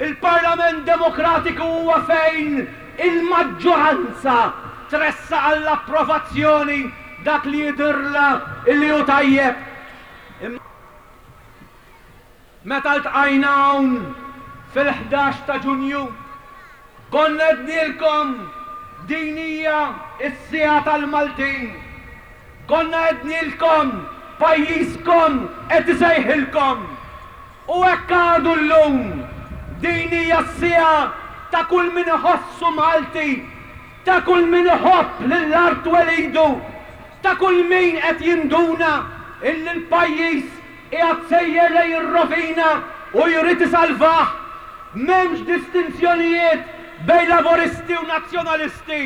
[SPEAKER 2] Il-Parlament demokratiku huwa fejn il-maġġoranza tressaq għall-approvazzjoni dak li jidhirlha li hu tajjeb. Meta ltqajna hawn fil-11 ta' Ġunju, konna għednielkom din hija s-siegħa tal-Maltin. Konna għednielkom pajjiżkom qed isejħilkom. U hekk għadu llum. Din hija s-siegħa ta' kull min iħossu Malti, ta' kull min iħobb lil art twelidu, ta' kull min qed jinduna illi l-pajjiż Qiegħed sejjer lejn ir-rovina u jrid isalvah. M'hemmx distinzjonijiet bejn Laburisti u Nazzjonalisti.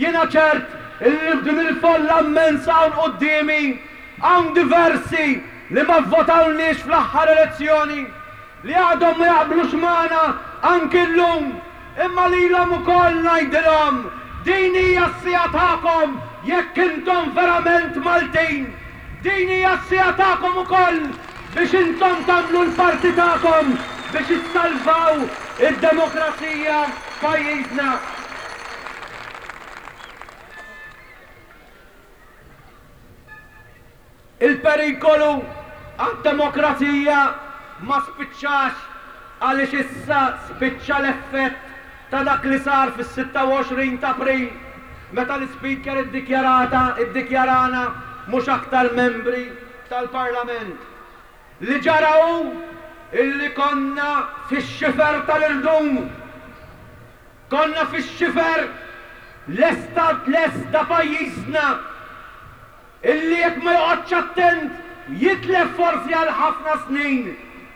[SPEAKER 2] Jiena ċert illi f'din il-folla immensa hawn quddiemi hawn diversi li ma vvotawlniex fl-aħħar elezzjoni, li għadhom ma jaqblux magħna anki llum. Imma lilhom ukoll ngħidilhom, din hija s-siegħa tagħkom jekk intom verament Maltin. Din hija s-siegħa tagħkom ukoll biex intom tagħmlu l-parti tagħkom biex issalvaw id-demokrazija f'pajjiżna. Il-perikolu għad-demokrazija ma spiċċax għaliex issa spiċċa l-effett. ta' dak li sar fis-26 t'April meta l-Ispeaker iddikjarata iddikjarana mhux aktar membri tal-Parlament. Li ġara hu illi konna fix-xifer tal-irdum. Konna fix-xifer lesta lest da pajjiżna illi jekk ma joqgħodx attent jitlef forsi għal ħafna snin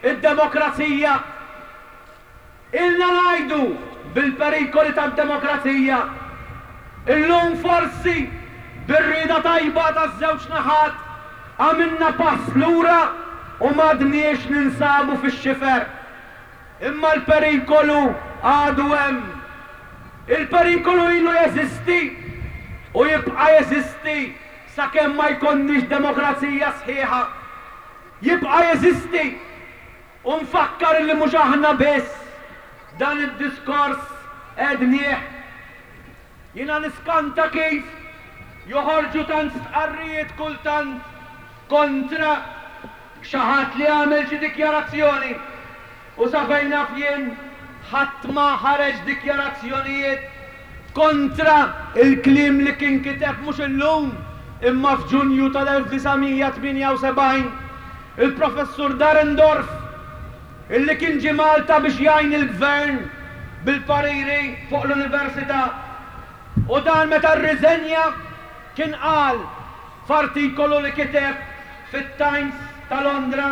[SPEAKER 2] id-demokrazija. Ilna ngħidu bil-perikoli tad-demokrazija. Illum forsi bir-rieda tajba taż-żewġ naħat għamilna pass lura u m'għadniex ninsabu fix-xifer. Imma l-perikolu għadu hemm. Il-perikolu ilu jeżisti u jibqa' jeżisti sakemm ma jkollniex demokrazija sħiħa. Jibqa' jeżisti. U nfakkar illi mhux aħna biss dan id-diskors għednieh. Jiena niskanta kif joħorġu tant stqarrijiet kultant kontra xi ħadd li għamel xi dikjarazzjoni. U sa fejn naf jien ħadd ma ħareġ dikjarazzjonijiet kontra l-kliem li kien kiteb mhux illum imma f'Ġunju tal-1978 il-Professur Dahrendorf illi kien ġie Malta biex jgħin il-Gvern bil-pariri fuq l-Università u dan meta rriżenja kien qal f'artikolu li kiteb fit-Times ta' Londra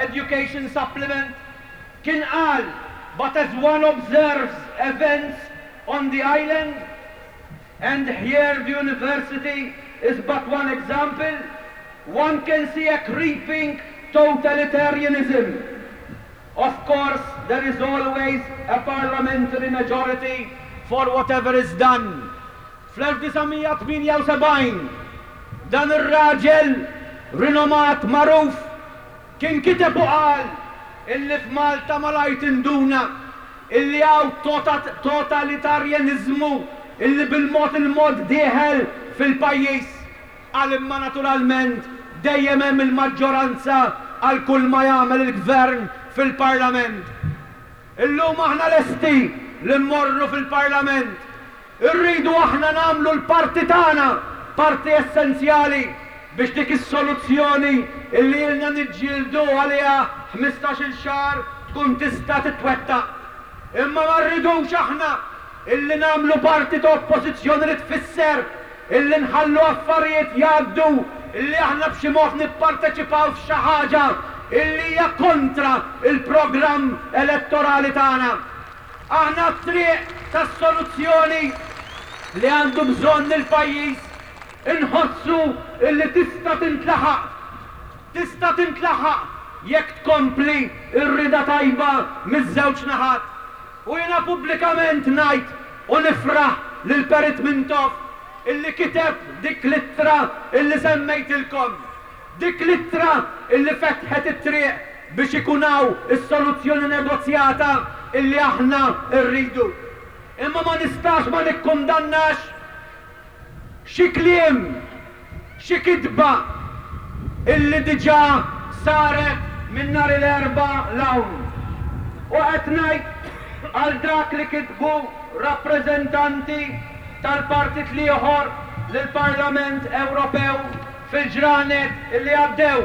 [SPEAKER 2] Education Supplement kien qal but as one observes events on the island and here the university is but one example, one can see a creeping totalitarianism. Of course, there is always a parliamentary majority for whatever is done. Fl-1978, dan ir-raġel rinomat magħruf kien kiteb u qal illi f'Malta malajr tinduna illi hawn totalitarjaniżmu illi bil-mod il-mod dieħel fil-pajjiż. Qal imma naturalment dejjem hemm il-maġġoranza għal kull ma jagħmel il-Gvern fil-Parlament. Illum aħna lesti li mmorru fil-Parlament. Irridu aħna nagħmlu l-parti tagħna, parti essenzjali biex dik is-soluzzjoni illi ilna niġġieldu għaliha ħmistax-il xahar tkun tista' titwettaq. Imma ma rridux aħna illi nagħmlu parti ta' oppożizzjoni li tfisser illi nħallu affarijiet jgħaddu, illi aħna b'xi mod nipparteċipaw f'xi ħaġa illi hija kontra l-programm elettorali tagħna. Aħna t-triq tas-soluzzjoni li għandu bżonn il-pajjiż inħossu illi tista' tintlaħaq. Tista' tintlaħaq jekk tkompli r-rieda tajba miż-żewġ naħat. U jiena pubblikament ngħid u nifraħ lil Perit Mintoff illi kiteb dik l-ittra illi semmejtilkom. Dik l-ittra illi fetħet it-triq biex ikun hawn is-soluzzjoni negozjata illi aħna rridu. Imma ma nistax ma nikkundannax xi kliem, xi kitba illi diġà saret minn nhar il-Erbgħa 'l hawn. U qed ngħid għal dak li kitbu rappreżentanti tal-partit l-ieħor lill-Parlament Ewropew fil-ġranet illi għaddew.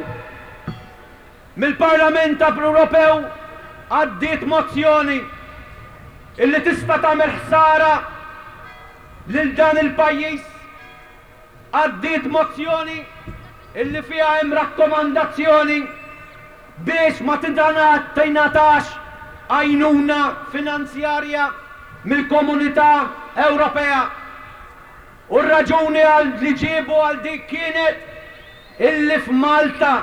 [SPEAKER 2] Mill-Parlament Ewropew għaddiet mozzjoni illi tista' tagħmel ħsara lil dan il-pajjiż. Għaddiet mozzjoni illi fiha hemm rakkomandazzjoni biex ma tingħatax għajnuna finanzjarja mill-Komunità Ewropea. U r-raġuni għal li ġiebu għal dik kienet illi f'Malta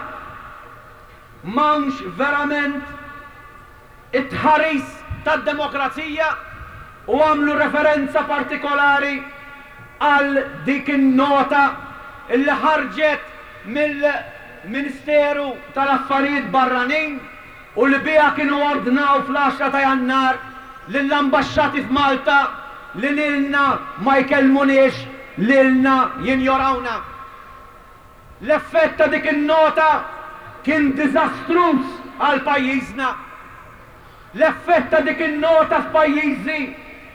[SPEAKER 2] m'hawnx verament it-tħaris tad-demokrazija u għamlu referenza partikolari għal dik in-nota illi ħarġet mill-Ministeru tal-Affarijiet Barranin u li biha kienu ordnaw fl-għaxra ta' Jannar lill-ambaxxati f'Malta li lilna ma jkellmuniex, lilna jinjorawna. L-effett ta' dik in-nota kien diżastruż għal pajjiżna. L-effett ta' dik in-nota f'pajjiżi.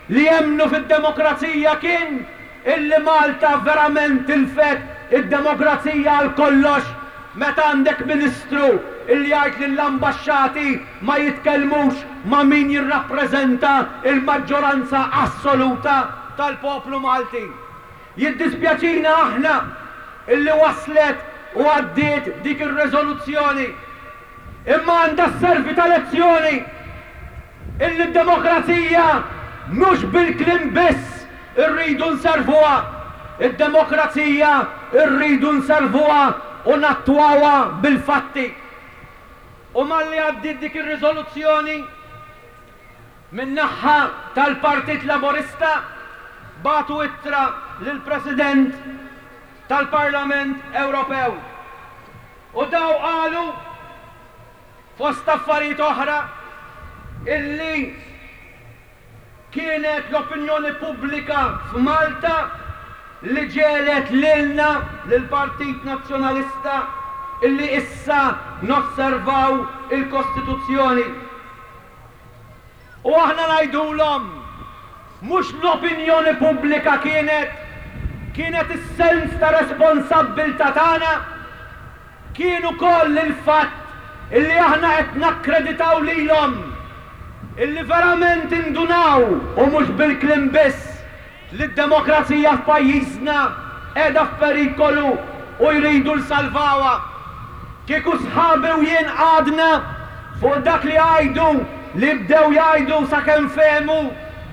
[SPEAKER 2] li jemmnu fid-demokrazija kien illi Malta verament tilfet id-demokrazija għal kollox meta għandek Ministru illi jgħid lill-ambaxxati ma jitkellmux ma' min jirrappreżenta l-maġġoranza assoluta tal-poplu Malti. Jiddispjaċina aħna illi waslet u għaddiet dik ir-reżoluzzjoni. Imma għandha sservi ta' lezzjoni illi d-demokrazija mhux bil-kliem biss irridu nservuha. Id-demokrazija rridu nservuha u nattwawha bil-fatti. U malli għaddiet dik ir-riżoluzzjoni, min-naħa tal-Partit Laburista bagħtu ittra lill-President tal-Parlament Ewropew. U daw qalu, fost affarijiet oħra, illi kienet l-opinjoni pubblika f'Malta li ġegħlet lilna, lill-Partit Nazzjonalista, illi issa nosservaw il-Kostituzzjoni. U aħna ngħidulhom, mhux l-opinjoni pubblika kienet, kienet is-sens ta' responsabbiltà tagħna, kien ukoll il-fatt illi aħna qed nakkreditaw lilhom illi verament indunaw, u mhux bil-kliem biss, li d-demokrazija f'pajjiżna qiegħda f'perikolu u jridu jsalvawha. Kieku sħabi u jien qgħadna fuq dak li jgħidu, li bdew jgħidu sakemm fehmu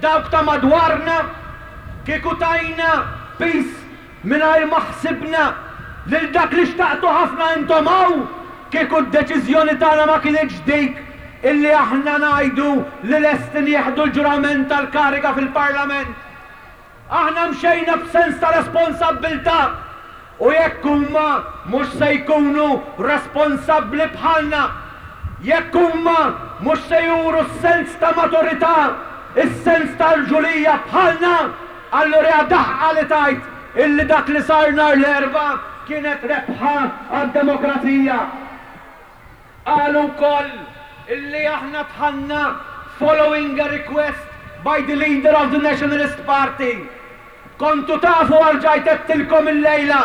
[SPEAKER 2] dawk ta' madwarna, kieku tajna piż mingħajr ma ħsibna lil dak li xtaqtu ħafna intom hawn, kieku d-deċiżjoni tagħna ma kinitx dik illi aħna ngħidu li lesti nieħdu l-ġurament tal-kariga fil-Parlament. Aħna mxejna b'sens ta' responsabbiltà u jekk huma mhux se jkunu responsabbli bħalna, jekk huma mhux se juru s-sens ta' maturità, is-sens ta' rġulija bħalna, Allura hija daħqa li tgħid illi dak li sar nhar l-Erbgħa kienet rebħa għad-demokrazija. Qalu wkoll illi aħna dħalna following a request by the leader of the Nationalist Party. Kontu tafu erġajt għedtilkom illejla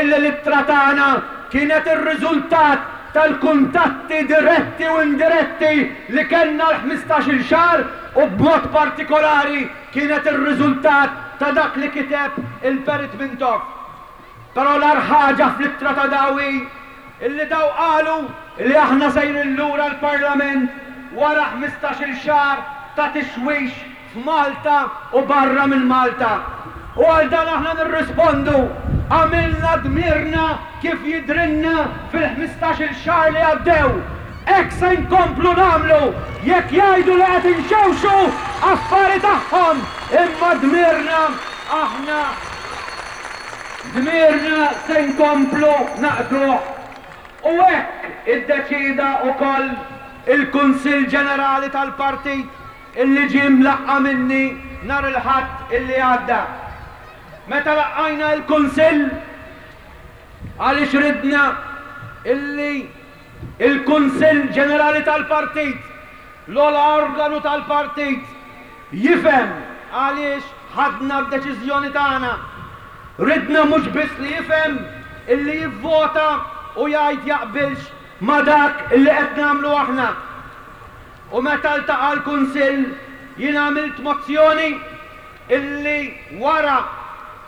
[SPEAKER 2] illi l-ittra tagħna kienet ir-riżultat tal-kuntatti diretti u indiretti li kellna l-ħmistax-il xahar u b'mod partikolari kienet ir-riżultat ta' dak li kiteb il-Perit Mintoff. Però l-agħar ħaġa fl-ittra ta' daw hi illi daw qalu li aħna sejrin lura l-Parlament wara ħmistax-il xahar ta' tixwix f'Malta u barra minn Malta. U għal dan aħna nirrispondu, għamilna dmirna kif jidhrilna fil-ħmistax-il xahar li għaddew. Hekk se nkomplu nagħmlu jekk jgħidu li qed inxewxu, affari tagħhom, imma dmirna aħna dmirna se nkomplu naqduh. U hekk iddeċieda ukoll il-Kunsill Ġenerali tal-Partit illi ġie mlaqqa' minni nhar il-Ħadd illi għadda. Meta laqqajna il-Kunsill, għaliex ridna illi Il-Kunsill Ġenerali tal-Partit, l-ogħla organu tal-Partit, jifhem għaliex ħadna d-deċiżjoni tagħna. Ridna mhux biss li jifhem, illi jivvota u jgħid jaqbilx ma' dak illi qed nagħmlu aħna. U meta ltaqa' l-Kunsill jien għamilt mozzjoni illi wara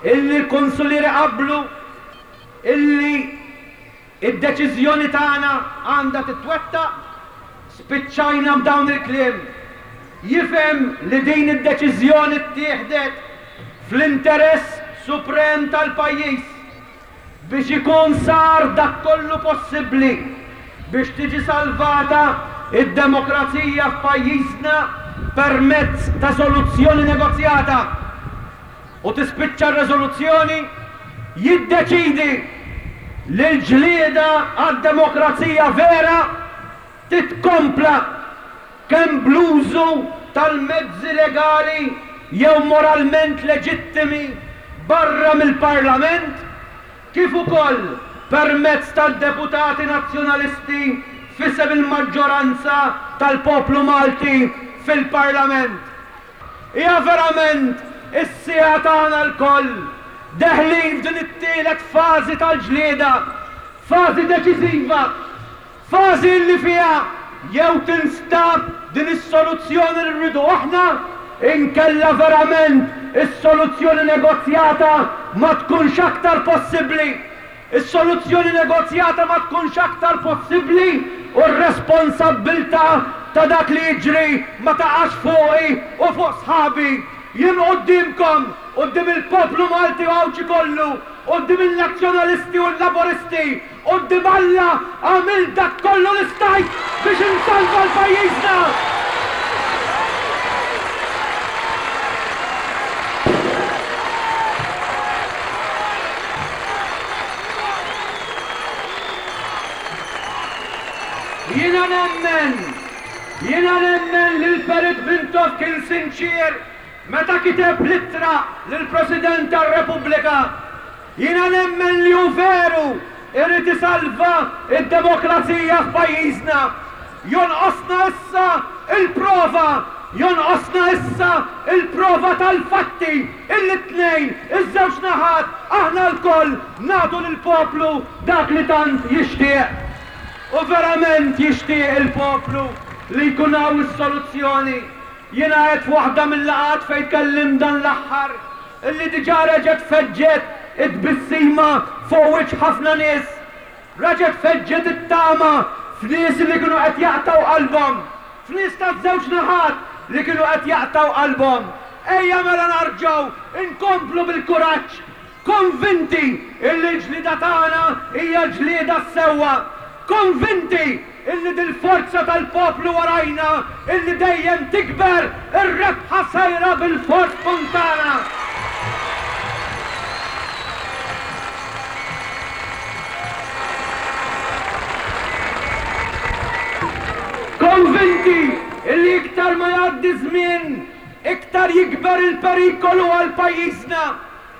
[SPEAKER 2] illi l-Kunsillieri qablu illi Id-deċiżjoni tagħna għandha titwettaq, spiċċajna b'dawn il-kliem. Jifhem li din id-deċiżjoni ttieħdet fl-interess suprem tal-pajjiż biex ikun sar dak kollu possibbli biex tiġi salvata d-demokrazija f'pajjiżna permezz ta' soluzzjoni negozjata. U tispiċċa r-reżoluzzjoni jiddeċiedi li l-ġlieda għad-demokrazija vera titkompla kemm bl-użu tal-mezzi legali jew moralment leġittimi barra mill-Parlament kif ukoll permezz tad-deputati Nazzjonalisti f'isem il-maġġoranza tal-poplu Malti fil-Parlament. Hija verament is-siegħa tagħna lkoll. Deħlin f'din it-tielet fażi tal-ġlieda, fażi deċiżiva, fażi li fiha jew tinstab din is-soluzzjoni li rridu aħna, inkella verament is-soluzzjoni negozjata ma tkunx aktar possibbli. Is-soluzzjoni negozjata ma tkunx aktar possibbli u r-responsabbiltà ta' dak li jiġri ma taqax fuqi u fuq sħabi. Jien quddiemkom, quddiem il-poplu Malti u Għawdxi kollu, quddiem in-Nazzjonalisti u l-Laburisti, quddiem Alla għamilt dak kollu li stajt biex insalva l-pajjiżna! Jiena nemmen, jiena nemmen li l-Perit Mintoff kien sinċier meta kiteb l-ittra lill-President tar-Repubblika. Jiena nemmen li hu veru irid isalva d-demokrazija f'pajjiżna. Jonqosna issa l-prova, jonqosna issa l-prova tal-fatti illi t-tnejn, iż-żewġ naħat, aħna lkoll nagħtu lill-poplu dak li tant jixtieq. U verament jixtieq il-poplu li jkun hawn is-soluzzjoni. Jiena għedt f'waħda mil-laqgħat fejn tkellimt dan l-aħħar illi diġà reġgħet feġġet it-tbissima fuq wiċċ ħafna nies. Reġgħet feġġet it-tama f'nies li kienu qed jaqtgħu qalbhom, f'nies taż-żewġ naħat li kienu qed jaqtgħu qalbhom. Ejja mela narġgħu nkomplu bil-kuraġġ, konvinti illi l-ġlieda tagħna hija l-ġlieda s-sewwa, konvinti illi dil-forza tal-poplu warajna illi dejjem tikber, ir-rebħa sejra bilfors tkun tagħna. Konvinti illi iktar ma jgħaddi żmien, iktar jikber il-perikolu għal pajjiżna.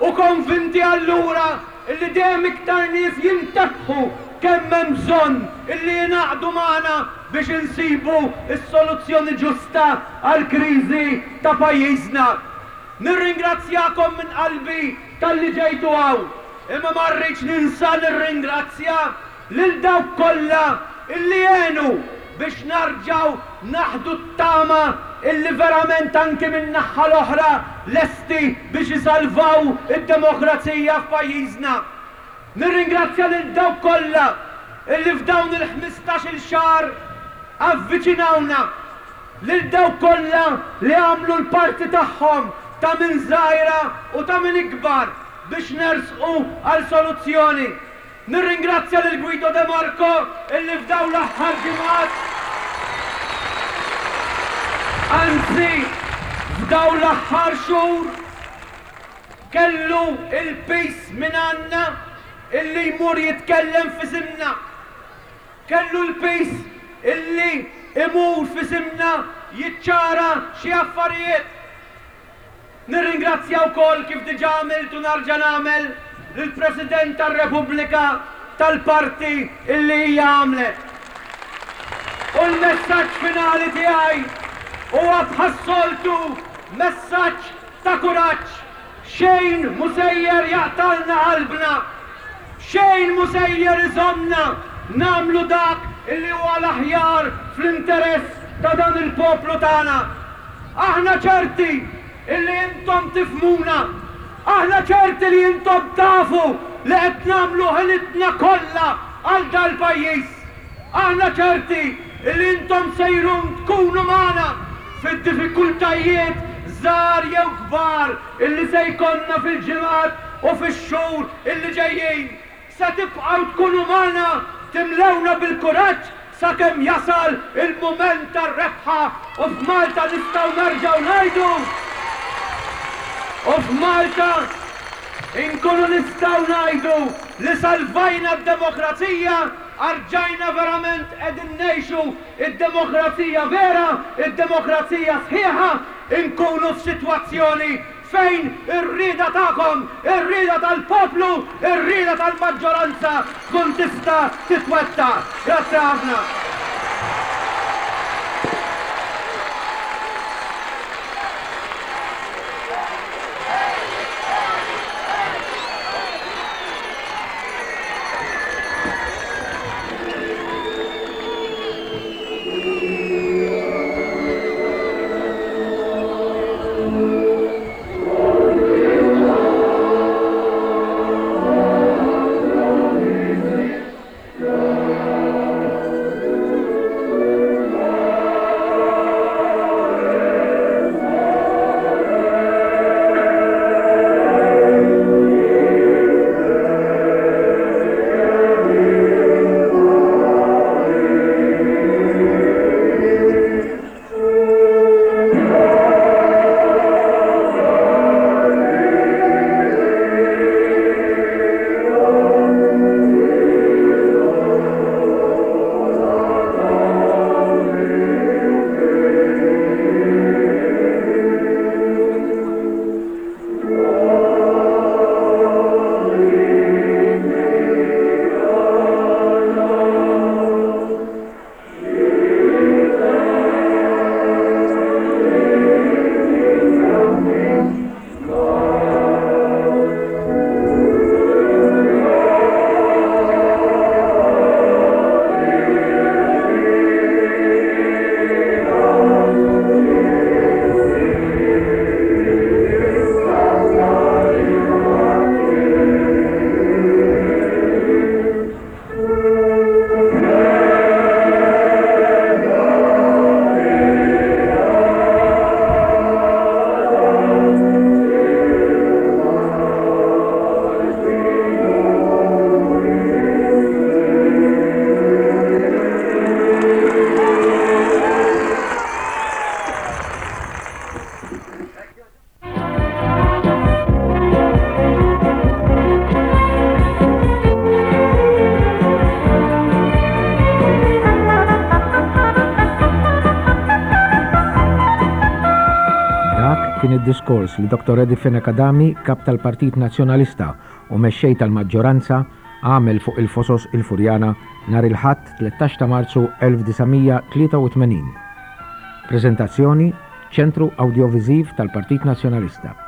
[SPEAKER 2] U konvinti allura illi dejjem iktar nies jintebħu kemm hemm bżonn illi jingħaqdu magħna biex insibu s-soluzzjoni ġusta għall-kriżi ta' pajjiżna. Nirringrazzjakom minn qalbi talli ġejtu hawn, imma ma rridx ninsa nirringrazzja lil dawk kollha illi għenu biex narġgħu naħdu t-tama illi verament anki min-naħha l-oħra lesti biex isalvaw id-demokrazija f'pajjiżna. Nirringrazzja lil dawk kollha illi f'dawn il-ħmistax-il xahar avviċinawna, lil dawk kollha li għamlu l-parti tagħhom ta' min żgħira u ta' min ikbar biex nersqu għal soluzzjoni. Nirringrazzja lil Guido De Marco illi f'dawn l-aħħar ġimgħat, anzi f'dawn l-aħħar xhur, kellu l-piż minn għandna illi jmur jitkellem f'isimna. Kellu l-piż illi imur f'isimna jiċċara xi affarijiet. Nirringrazzja wkoll, kif diġà għamilt u narġa' nagħmel, lill-President tar-Repubblika tal-parti illi hija għamlet. U l-messaġġ finali tiegħi huwa bħas-soltu messaġġ ta' kuraġġ. Xejn mhu sejjer jaqtgħalna qalbna. Xejn mhu sejjer iżommna nagħmlu dak illi huwa l-aħjar fl-interess ta' dan il-poplu tagħna. Aħna ċerti illi intom tifhmuna. Aħna ċerti li intom tafu li qed nagħmlu ħilitna kollha għal dal-pajjiż. Aħna ċerti illi intom sejrun tkunu magħna fid-diffikultajiet żgħar jew kbar illi se jkollna fil-ġimgħat u fix-xhur illi ġejjin. Se tibqgħu tkunu magħna, timlewna bil-kuraġġ sakemm jasal il-mument tar-rebħa u f'Malta nistgħu nerġgħu ngħidu u f'Malta nkunu nistgħu ngħidu li salvajna d-demokrazija, arġajna verament qegħdin ngħixu d-demokrazija vera, id-demokrazija sħiħa, inkunu f'sitwazzjoni fejn ir-rieda tagħkom, ir-rieda tal-poplu, ir-rieda tal-maġġoranza tkun tista' titwettaq. Grazzi ħafna.
[SPEAKER 1] mid-diskors li Dottor Eddie Fenech Adami, Kap tal-Partit Nazzjonalista u Mexxej tal-Maġġoranza, għamel fuq il-Fosos il-Furjana nhar il-Ħadd 13 ta' Marzu 1983. Preżentazzjoni, Ċentru Awdjoviżiv tal-Partit Nazzjonalista.